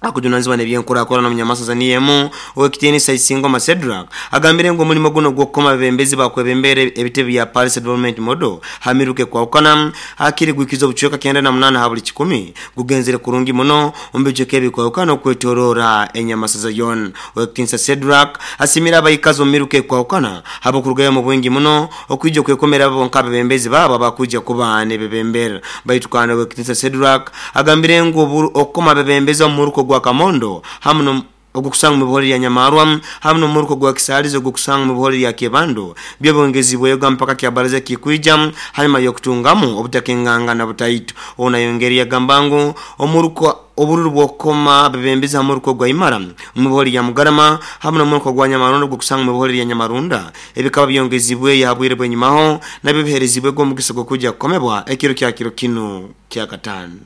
akujunanzibwa nebyenkurakora na munyamasa zaniyemu owekitini Saisingo Masedrak agambire ngo mulimo guno gwokoma bembezi bakwebembere ebitebe bya Paris Development Model hamiruke kwa ukana akiri gwikizo buchweka kenda na munana habuli kikumi gugenzere kurungi muno ombejeke bikwa ukana kwetorora enyamasa za yon owekitini Sedrak asimira abayikazo miruke kwa ukana habo kurugaya mu bwingi muno okwijo kwekomera abo nkabe bembezi baba bakuja kuba nebebembera baitukana owekitini Sedrak agambire ngo okoma bembezi omuruko gwa Kamondo hamuno ogukusanga mu buholi ya Nyamarwa hamuno muruko gwa Kisalizo ogukusanga mu buholi ya Kebando byobongezibwe yoga mpaka kya baraza kikuija hanyuma yokutungamu obutakenganga na butaitu ona yongeri ya gambango omuruko obururu bwokoma bebembeza muruko gwa Imara mu buholi ya Mugarama hamuno muruko gwa Nyamarondo gukusanga mu buholi ya Nyamarunda ebikaba byongezibwe yahabwire bwenyumaho nabiherezibwe go mugiso go kuja komebwa ekiro kya kiro kino kya katano.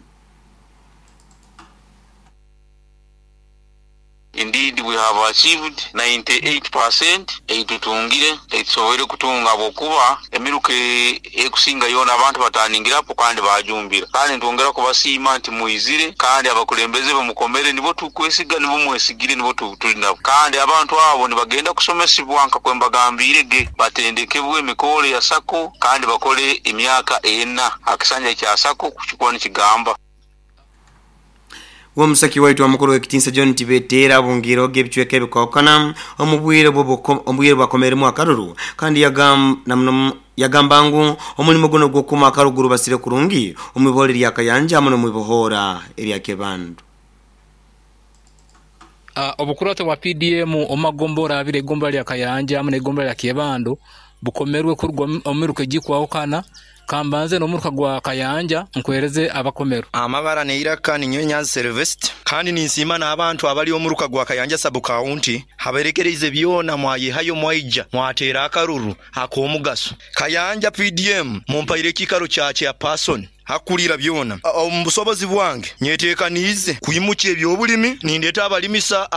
Indeed, we have achieved ninety-eight percent. Eitutungire, eitusobole kutunga bokuba emiruke ekusinga yona abantu bataningirapo kandi bajumbira. Kandi ntwongera kubasiima nti muizire kandi abakulembeze bamukomere nibo tukwesiga nibo mwesigire nibo tuli nabo. Kandi abantu abo nibagenda kusomesibwa nka kwembagambire ge batendekebwe emikole ya sako kandi bakole emyaka ena akisanja kya sako kuchukua nikigamba. Omusaki waitu omukuru w'ekitinsa John Tibetera bungiro gebicweka ebikokana omubwire omubwire bakomeremu akaruru kandi yagam namno yagamba ngu omulimo guno gwokuma akaruguru basire kurungi omwibole lya Kayanja hamwe n'omwibohora erya Kebandu. Uh, obukurata bwa P D M omagombora abire egomba lya Kayanja hamwe n'egomba lya Kebando bukomerwe kurugwa omiruka gikwaho kambanze n'omuruka gwa Kayanja nkwereze abakomero amabara neiraka ninyonya service kandi ninsima n'abantu abali omuruka gwa Kayanja sub county haberekereze byona mwayihayo mwaija mwatera akaruru akomugaso Kayanja P D M mumpaire kikaro kya kya person hakulira byona omubusobozi bwange nyetekanize kuyimuka ebyobulimi nindeta abalimisa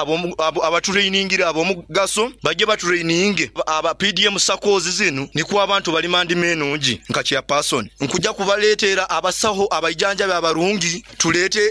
abatrainingira abomugaso baje batraininge aba P D M sakozi zinu niko abantu balimandi menungi nka kya person nkuja kubaleetera abasaho abaijanja abarungi tulete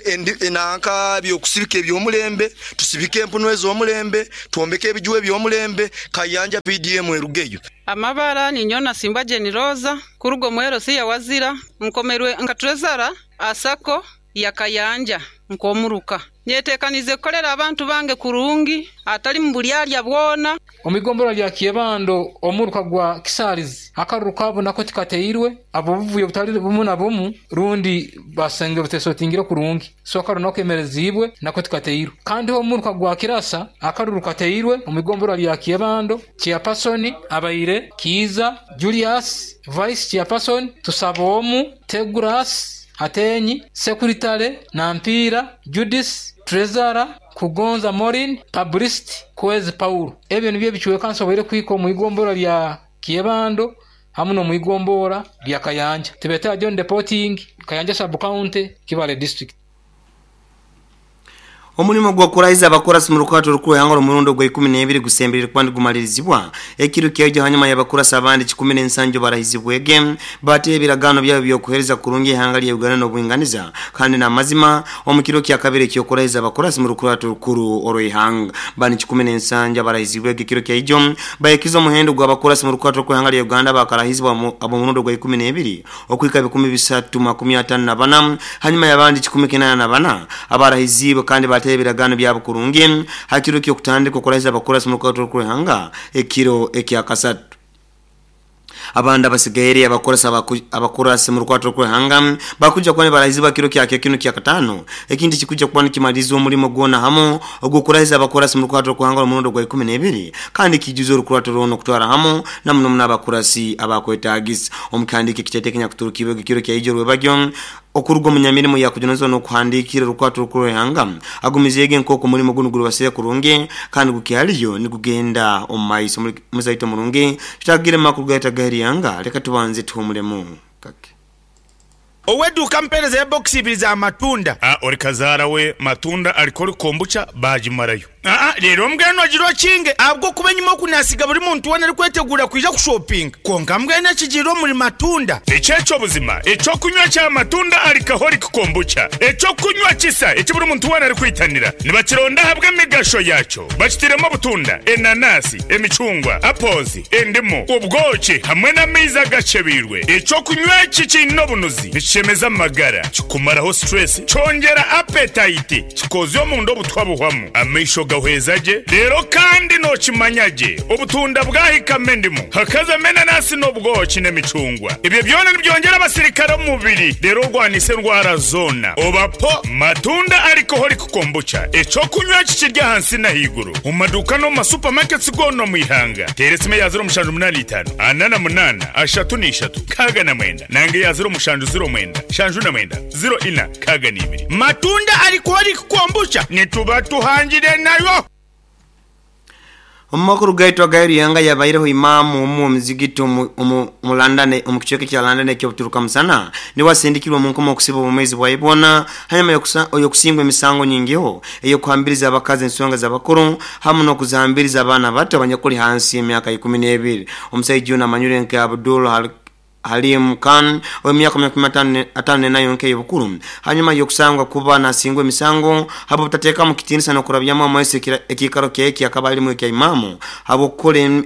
enanka byokusibika ebyomulembe tusibike empuno ez'omulembe tuombeke ebijuwe ebyomulembe Kayanja P D M erugeyo. Amabara ni nyona Simba Jeniroza kurugo mwero si ya wazira nkomerwe nkatrezara asako ya Kayanja nkomuruka nyetekanize kolera abantu bange kurungi atali mbulyalya bwona. Omigombora lya Kiebando omuruka gwa Kisarizi akaruru kabo nako tikateirwe abo buvuye butali bumu na bumu rundi basenge butesotingire kurungi so akaruru nako emerezibwe nako tikateirwe kandi omuruka gwa Kirasa akaruru kateirwe omigombora lya Kiebando chairperson abaire Kiza Julius vice chairperson Tusabomu Teguras Atenyi, Sekuritale, Nampira, Judith, Trezara, Kugonza Morin, Publicist, Kwezi Paulo. Ebyo nibyo bichuwe kanso kwiko muigombora lya Kiebando hamwe no muigombora lya Kayanja. Tibeta John Deporting, Kayanja Sub County, Kibale District. Omulimo gwa kuraiza abakurasi mu rukwato rukuru yangoro murundo gwa ikumi n'ebiri gusembirira kwandi gumalirizibwa ekiro kyaje hanyuma y'abakurasi abandi kikumi n'ensanjo barahizibwege bate ebiragano byabo byokuhereza kurungi ihanga lya Uganda n'obwinganiza kandi na mazima omukiro kya kabiri kyo kuraiza abakurasi mu rukwato rukuru oroihanga bani kikumi n'ensanjo barahizibwege ekiro kyajo bayekizo muhendo gwa abakurasi mu rukwato rukuru ihanga lya Uganda bakarahizibwa abo murundo gwa ikumi n'ebiri okwika bikumi bisatu makumi atano na bana hanyuma y'abandi kikumi kinana na bana abarahizibwe kandi ebiragano byabo kurungi hakiro kyo kutandika kuraiza abakurasi mu rukwato rukuru ihanga ekiro ekyakasatu abanda basigaye abakorasa abakurasi mu rukwato rukuru ihanga bakuja kwani barahiziba kiro kyake kino kya katano ekindi kikuja kwani kimalizo omulimo gwona hamo ogukurahiza abakurasi mu rukwato rukuru ihanga omurundo gwa ikumi n'ebiri kandi kijuzo rukwato rono kutwara hamo namuno n'abakurasi abakwetagisa omukandike kitetekenya kuturukiwe kiro kya ijo rwebagyo okurugo munyamirimo yakujonozwa no kuhandikira rukwato rukuru ihanga agumizege nkoko mulimo guno gurubasire kurunge kandi gukihaliyo ni kugenda omaiso muzaito murunge tutagire makuru gaita gaheri yanga leka tubanze tuhumulemu kake Oweduka mpereza ya box ibiri za matunda. Ah, ori kazara we matunda alikori kombucha bajimarayo. Ah ah, rero mbweno jiro kinge abwo kubenyuma kunasiga buri muntu wana ari kwetegura kwija ku shopping. Konka mbwene kijiro muri matunda. Echecho buzima, echo kunywa cha matunda alikahori kombucha. Echo kunywa kisa, echi buri muntu wana ari kwitanira. Nibakironda habwe migasho yacho. Bakitiremo butunda, enanasi, emicungwa, apozi, endimu, ubwoki hamwe n'amaizi gacebirwe. Echo kunywa kikino bunuzi. Chemeza magara kikumaraho stress chongera appetite kikozyo mundo butwabuhwamu amesho gahwezaje rero kandi no kimanyaje obutunda bwahika mendimu hakaza menanasi n'obwoki n'emicungwa ibyo byona nibyongera abasirikare mu mubiri rero rwanise ndwara zona obapo matunda alcoholic kombucha eco kunywa kikirya hansi na higuru mu maduka no mu supermarkets gono mu ihanga teresime ya zero mushanju munani itanu anana munana ashatu n'ishatu kaga na mwenda nange ya zero mushanju zero mwenda shanju na mwenda zero ina kaga n'ibiri matunda alcoholic kombucha nituba tuhangire nayo. Omakuru gaitwa gairi yanga yabaireho imamu omu muzigiti omu London omu kichweka kya London ekyobuturuka musana ni wasindikirwa mu nkomo okusiba omwezi bwaibona hanyuma yokusingwa emisango nyingiho eyokuhambiriza abakazi ensonga z'abakuru hamwe n'okuzambiriza abaana bato abanyakuli hansi y'emyaka ikumi n'ebiri. Omusajja ono amanyire nka Abdul Hal Halim Khan w'emyaka makumi atano nayo nke y'obukuru hanyuma yokusangwa kuba nasingwa emisango habo butateeka mu kitinisa n'okurabyamu amaiso ekikaro kyeki akaba alimu ekya imamu habo kukora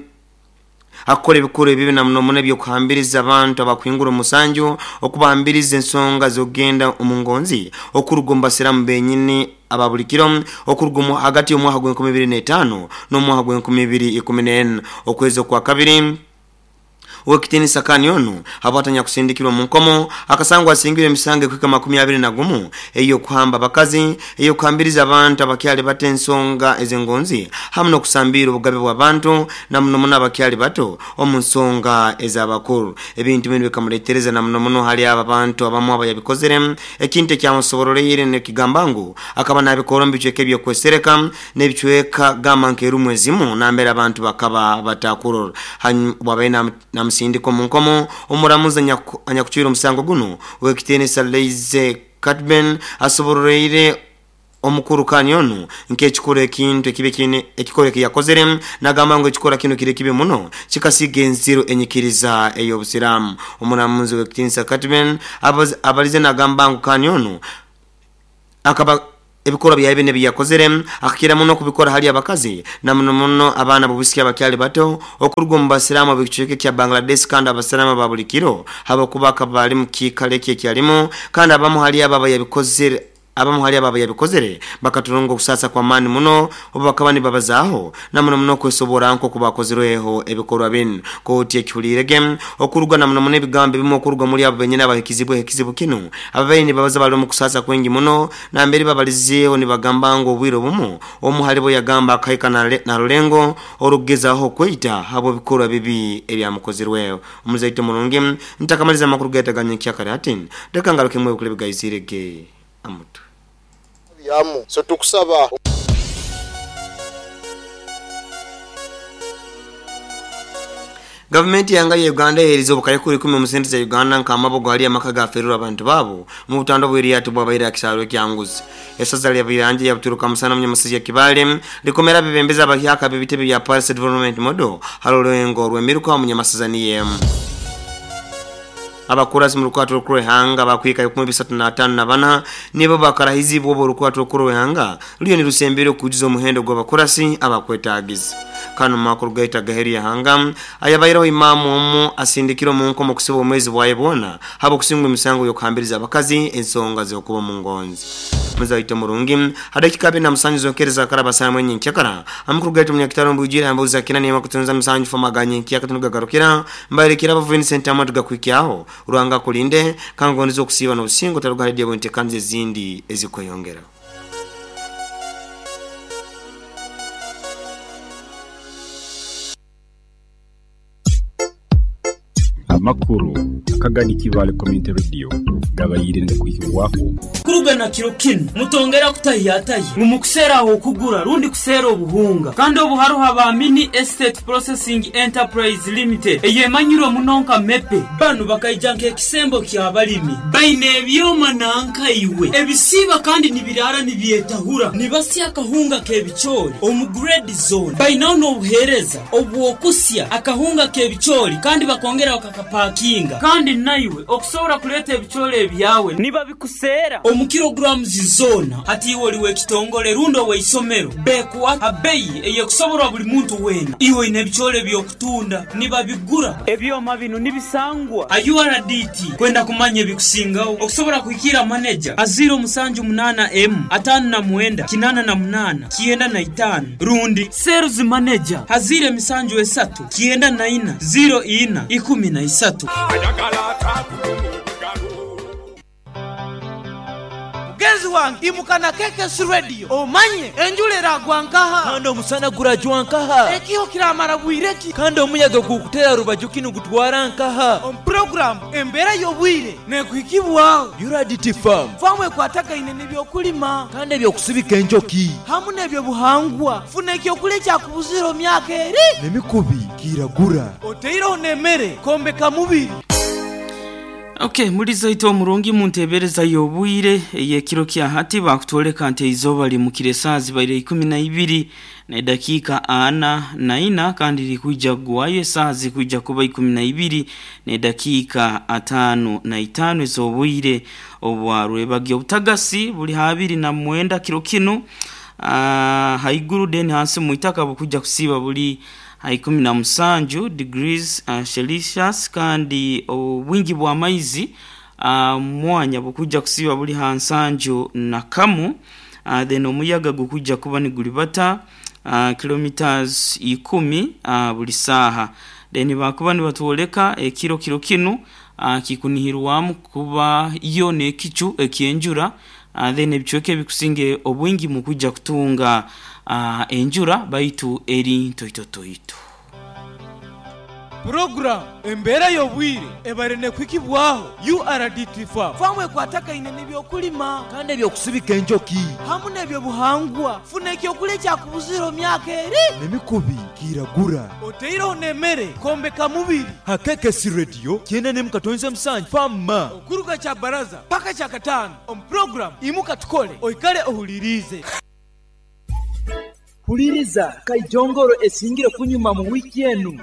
akora ebikuru ebibi na muno muno ebyokuhambiriza abantu abakwingura omusanju okubahambiriza ensonga z'okugenda omu ngonzi okuruga omu basiramu benyini ababulikiro okuruga hagati y'omwaka gw'enkumi ibiri n'etaano n'omwaka gw'enkumi ibiri ikumi n'ena okwezi kwa kabiri. Wekitini sakani onu habwatanya kusindikirwa mu nkomo akasangwa asingire emisango kwika makumi abiri na gumu eyo kuhamba bakazi eyo kuhambiriza abantu abakyali bato ensonga ezengonzi hamu n'okusambira obugabe bw'abantu na muno muno abakyali bato omu nsonga ez'abakuru. Ebintu bino bikamuletereza na muno muno hali aba bantu abamu abayabikozere ekintu ekyamusoboroleire nekigamba ngu akaba nabikora mu bicweka ebyokwesereka n'ebicweka gamba nk'erumu ezimu nambere abantu bakaba batakurora. Hanyuma bwabaire na sindiko munkomo omuramuzi anyakuchwira omusango guno wekitene Saleize Katben asobororeire omukuru kanyonu nk'ekikora ekintu ekibe kine ekikora ekiyakozere nagamba ngo ekikora kino kire kibe muno kikasiga enziro enyikiriza ey'obusiraamu. Omuramuzi wekitene Katben abalize nagamba ngo kanyonu akaba ebikora bya ebine biyakozere akira muno kubikora hali abakazi na muno muno abana bubusiki abakyali bato okuruga mu basiraamu b'ekicweka kya Bangladesh kandi abasiraamu babulikiro habakuba kabali mu kikale kye kyalimo kandi abamu hali ababa yabikozere abamu hali ababa yabikozere bakaturongo kusasa kwa mani muno obakaba nibabazaaho na muno muno kwesobora nko kubakozerweho ebikorwa bino. Kooti ekihulirege okuruga na muno muno ebigambo ebimu okuruga muri abo benyine abahikizibwe ekizibu kino ababaire nibabaza bali mu kusasa kwengi muno nambere babalizeeho nibagamba ngo obwire obumu omu halibo yagamba akahika na rulengo orugezaho kweyita habo bikorwa bibi ebyamukozerweho. Omuzaito mulungi ntakamaliza amakuru gaitaganye kyakare ati reka ngaruke mwe bukule bigayizirege amutu yamu so tukusaba. Gavumenti yanga ya Uganda erizo obukayekuru ikumi mu sente za Uganda nk'amabogo hali amaka gaferura abantu babo mu butando bw'eriyato bwabaire akisaro kyanguzi. Esaza lya Biranje yabuturuka musana munyamasisi ya Kibale likomera bibembeza abahyaka bibitebe bya Paris Development Model halolengo rwemiruka munyamasiza niyemu. Abakurasi mu rukwato rw'ehanga bakwika ibikumi bisatu na atano na bana nibo bakarahizibwa obo rukwato rw'ehanga ruyo nirusembere kujuza omuhendo gw'abakurasi abakwetagiza. Kano makuru gaita gaheri ya hanga ayabairaho imamu omu asindikiro mu nkomo kusiba omwezi bwaye bwona habo kusingwa emisango y'okuhambiriza abakazi ensonga z'okuba mu ngonzi. Muzaito murungi hadakika abiri na musanju zonkereza karabasana mwenye nkyakara amakuru gaita munyakitaro mbujira ambuza kinani makutunza musanju famaganye nkyakatunugagarukira mbarekera aba Vincent Amadu gakwikyaho Ruhanga kulinde kangondizo kusiba n'obusingo tarugaridde bontekanze zindi ezikweyongera. Amakuru akagani Kibale Community Radio gabayire ndakwikirwako kurugana kiro kino mutongera kutayataye mumukusera aho kugura rundi kusera obuhunga kandi obuharuha ba Mini Estate Processing Enterprise Limited eyemanyiro munonka mepe banu bakaijanka ekisembo kya balimi baine ebyoma nanka iwe ebisiba kandi nibirara nibyetahura nibasya akahunga kebichori omu grade zone bainaho n'obuhereza obwokusya akahunga kebichori kandi bakongera bakakapakinga kandi naiwe okusobora kuleta ebichori ebyawe niba bikusera omu kilograms zona hati iwe oliwe ekitongole rundo weisomero bekuwa abeyi eyekusoborwa buli muntu wena iwe ine ebichori byokutunda niba bigura ebyoma bino nibisangwa a U R D T kwenda kumanya ebikusingaho okusobora kuhikira manager aziro musanju munana M atano na mwenda kinana na munana kienda na itano rundi sales manager hazire misanju esatu kienda na ina zero ina ikumi na isatu. Mugenzi wange imukana K K S Radio omanye enjulera gwankaha kandi omusana gurajwa nkaha ekiho kiramara bwireki kandi omuyaga gukutera rubaju kinu gutwara nkaha omu program embera y'obwire nekuhikibwaho U R D T Farm. Famu ekwatagaine n'ebyokulima kandi ebyokusibika enjoki hamu n'ebyobuhangwa. Funa ekyokulya ekyakubuzira myaka eri n'emikubi kiragura oteireho n'emmere kombeka mubiri. Okay, mulizo ito omurungi muntebereza y'obwire ey'ekiro kya hati bakutoleka nti izoba limukire saa zibaire ikumi na ibiri na dakika ana na ina kandi likuja guwayo saa zikuja kuba ikumi na ibiri na dakika atano na itano ez'obwire obwarwebagyo. Obutagasi buli habiri na mwenda kiro kino uh, haiguru deni hansi muitaka bukuja kusiba buli ikumi na musanju degrees uh, Celsius kandi obwingi bwa maizi uh, mwanya bukuja kusiba buli hansanju na kamu uh, then omuyaga gukujja kuba nigulibata uh, kilometers ikumi uh, buli saha. Then bakuba nibatwoleka ekiro kiro kinu uh, kikunihirwamu kuba iyo nekicu ekyenjura uh, then ebichweke ebikusinge obwingi mukujja kutunga uh, enjura baitu eri ntoito toito. Program embera y'obwire ebarene kwikibwaho U R D T Farm famwe kwataka ine n'ebyokulima kandi ebyokusibika enjoki hamu n'ebyobuhangwa funa ekyokulya kyakubuzira myaka eri n'emikubi kiragura oteireho n'emmere kombeka mubiri hakekesi radio kyenda nemu katonze musanju fama okuruga kya baraza paka kya katano omu program imuka tukole oikale ohulirize. Huliriza kaijongoro esingire kunyuma mu wiki enu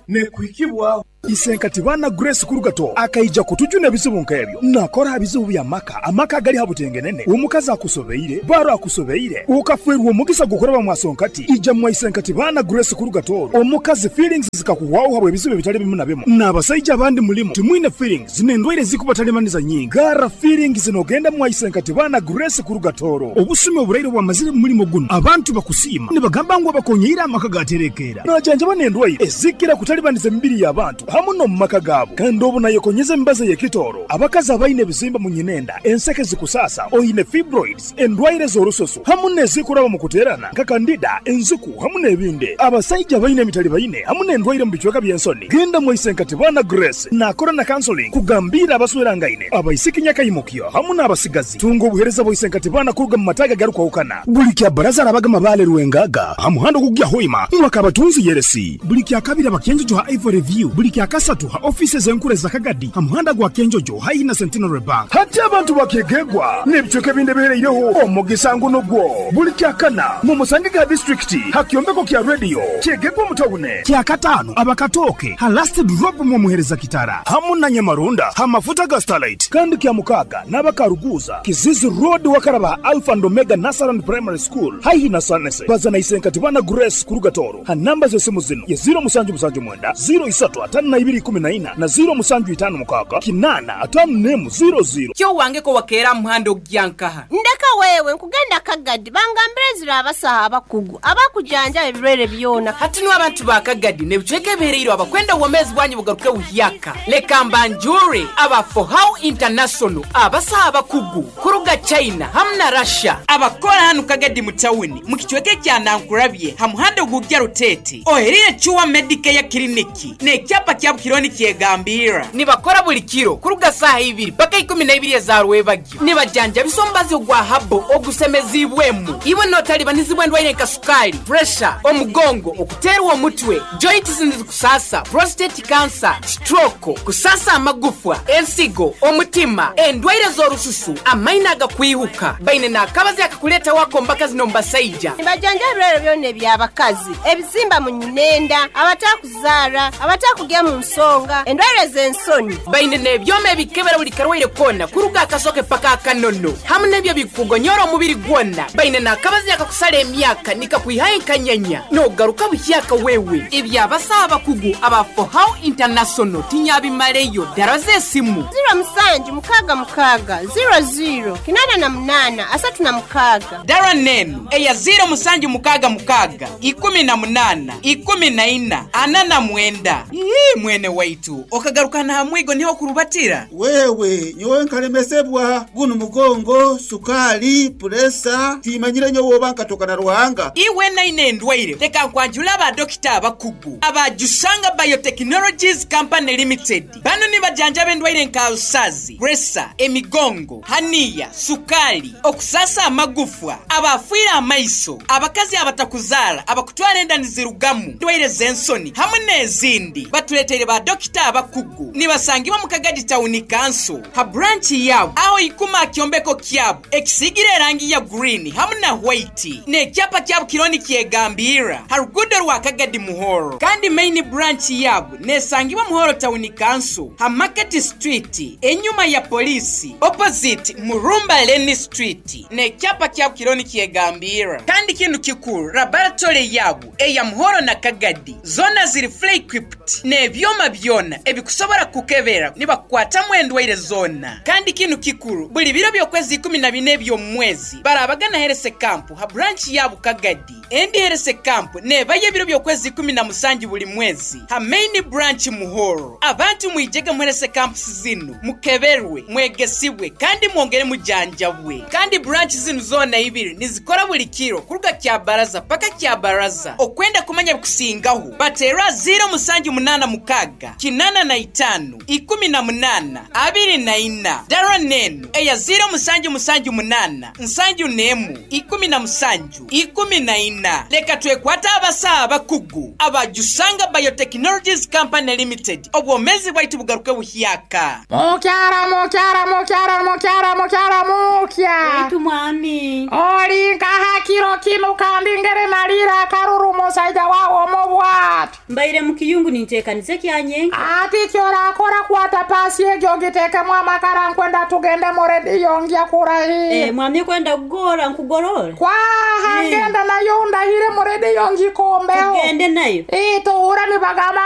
nekuhikibwa Isenkatibana Grace Kurugato akaija kutujuna ebizibu nkebyo nakora ebizibu bya maka amaka gali habutengenene omukazi akusobeire baro akusobeire ukafwerwa omugisa gukoraba mwasonkati ija mwa Isenkatibana Grace Kurugato omukazi feelings zikakuwaho habwe ebizibu bitali bimu na bimu n'abasajja abandi mulimo timwine feelings n'endwaire zikubatalemaniza nyingi gara feelings nogenda mwa Isenkatibana Grace Kurugatoro obusumi oburaire bwamazire mulimo guno abantu bakusiima nibagamba ngu abakonyeira amaka gaterekera najanja banendwaire ezikira kutalibaniza emibiri y'abantu hamu no mumaka gabo kandi obu nayekonyeza embaza y'ekitoro abakazi abaine ebizimba mu nyinenda enseke zikusasa oyine fibroids endwaire z'orusoso hamu n'ezikuraba mu kuterana nka kandida enziku hamu n'ebindi abasajja abaine emitali baine hamu n'endwaire mu bicweka by'ensoni genda mu Isenkatibana Grace nakora na counseling kugambira abaswerangaine abaisiki nyakayimukyo hamu n'abasigazi tunga obuhereza bwa Isenkatibana kuruga mu mataga garukwahukana buli kya baraza arabaga mabale ruwengaga hamuhando kugya hoima mwakabatunzi yeresi buli kya kabiri abakenjojo ha Ivory View buli kya kasatu ha offices enkure za Kagadi hamuhanda gwa Kenjojo hayi na Centenary Bank hati abantu bakegegwa n'ebicweka ebindi bihereireho omugisa nguno gwo buli kya kana mu Musangiga district hakyombeko kya radio kyegegwa mutawune kya katano abakatoke ha last drop mu muhereza kitara hamu na Nyamarunda ha mafuta ga Starlight kandi kya mukaga n'abakaruguza Kizizi Road wakaraba Alpha and Omega Nasaran Primary School hayi na Sanese bazana Isenkatibana Grace Kurugatoro ha namba z'esimu zino ye zero musanju musanju mwenda zero isatu atano na ibiri kumi na ina na zero musanju itano mukaka kinana atano nemu zero zero. Kyo wange ko wakera muhando gyankaha ndeka wewe nkugenda Kagadi bangambire zira abasaha abakugu abakujanja ebirwere byona hati no abantu ba Kagadi nebicweke bihereiro abakwenda uwomezi bwanyu bugaruke buhyaka leka mbanjure aba for how international abasaha abakugu kuruga China hamwe na Russia abakora hano Kagadi mu town mu kicweke kya Nankurabye hamuhando gugya rutete oherire chuwa Medicare kiliniki ne kyapa kya kironi kyegambira nibakora buli kiro kuruga saha ibiri paka ikumi na ibiri za rwebagyo nibajanja bisombazi ogwa habo ogusemezibwemu iwe notalibanizibwa ndwaire nka sukali pressure omugongo okuterwa omutwe joints kusasa prostate cancer stroke kusasa amagufwa ensigo omutima endwaire z'orususu amaina agakwihuka baine nakabazi akakuleta wako mbaka zino mbasaija nibajanja ebirwere byonna eby'abakazi ebizimba mu nyinenda abatakuzara abatakugya mu nsonga endwaire z'ensoni baine n'ebyoma ebikebera buli karwaire kona kuruga akasoke paka akanono hamu n'ebyo bikugonyora omubiri gwona baine nakabazi akakusala emyaka nikakwihaye nkanyanya nogaruka buhyaka wewe ebyabasaha abakugu aba for how international tinyabimaleyo dara z'esimu zero musanju mukaga mukaga zero zero kinana na munana asatu na mukaga dara nenu eya zero musanju mukaga mukaga ikumi na munana ikumi na ina ana na mwenda Ii, mwene waitu okagarukana hamwigo niho kurubatira wewe nyowe nkalemesebwa guno mugongo sukali puresa timanyire nyowe obanka tokana ruhanga iwe naine endwaire leka nkwanjula aba dokita abakugu abajusanga Biotechnologies Company Limited bano nibajanja b'endwaire nka usazi presa emigongo haniya sukali okusasa amagufwa abafuira amaiso abakazi abatakuzara abakutwara enda nizirugamu ndwaire z'ensoni hamwe n'ezindi batuleteire ba dokita abakugu nibasangibwa mu Kagadi Town Council ha branch yabo aho ikuma kyombeko kyabo ekisigire erangi ya green hamwe na white n'ekyapa kyabo kironi kyegambira ha rugudo rwa Kagadi Muhoro kandi main branch yabo nesangibwa Muhoro Town Council ha Market Street enyuma ya polisi opposite Murumba Lane Street n'ekyapa kyabo kironi kyegambira kandi kintu kikuru laboratory yabo eya Muhoro na Kagadi zona ziri fully equipped ne Ebyoma byona ebikusobola kukebera nibakukwatamu endwaire zona. Kandi kinu kikuru, buli biro by'okwezi ikumi na bina eby'omwezi barabagana health camp ha branch ya Bukagadi. Endi health camp nebayo ebiro by'okwezi ikumi na musanju buli mwezi ha main branch Muhoro. Abantu mwijege mu health camps zinu, mukeberwe, mwegesibwe kandi mwongere mujanjabwe. Kandi branch zinu zona ibiri nizikora buli kiro kuruga kya baraza paka kya baraza. Okwenda kumanya bikusingaho batera zero musanju munana mukaga kinana na itanu ikumi na munana abiri na ina dara nenu eya zero musanju musanju munana nsanju nemu ikumi na musanju ikumi na ina. Leka twekwata abasaa abakugu abajusanga Biotechnologies Company Limited, obwomezi bwaitu bugaruke buhyaka. Mukyara mukyara mukyara mukyara mukyara mukya waitu mwami oli nkaha kiro kinu kandi ngere nalira akaruru musaija wawo mubwati mbaire mukiyungu nintekanize kyanyenka ati kyorakora kwata pasi egyo gitekemu amakara nkwenda tugende mu rediyo ngya kurahira. Eh, mwami kwenda kugora nkugorora kwaha Eh. ngenda nayo ndahire mu rediyo ngikombeho Tugende nayo ituhura nibagamba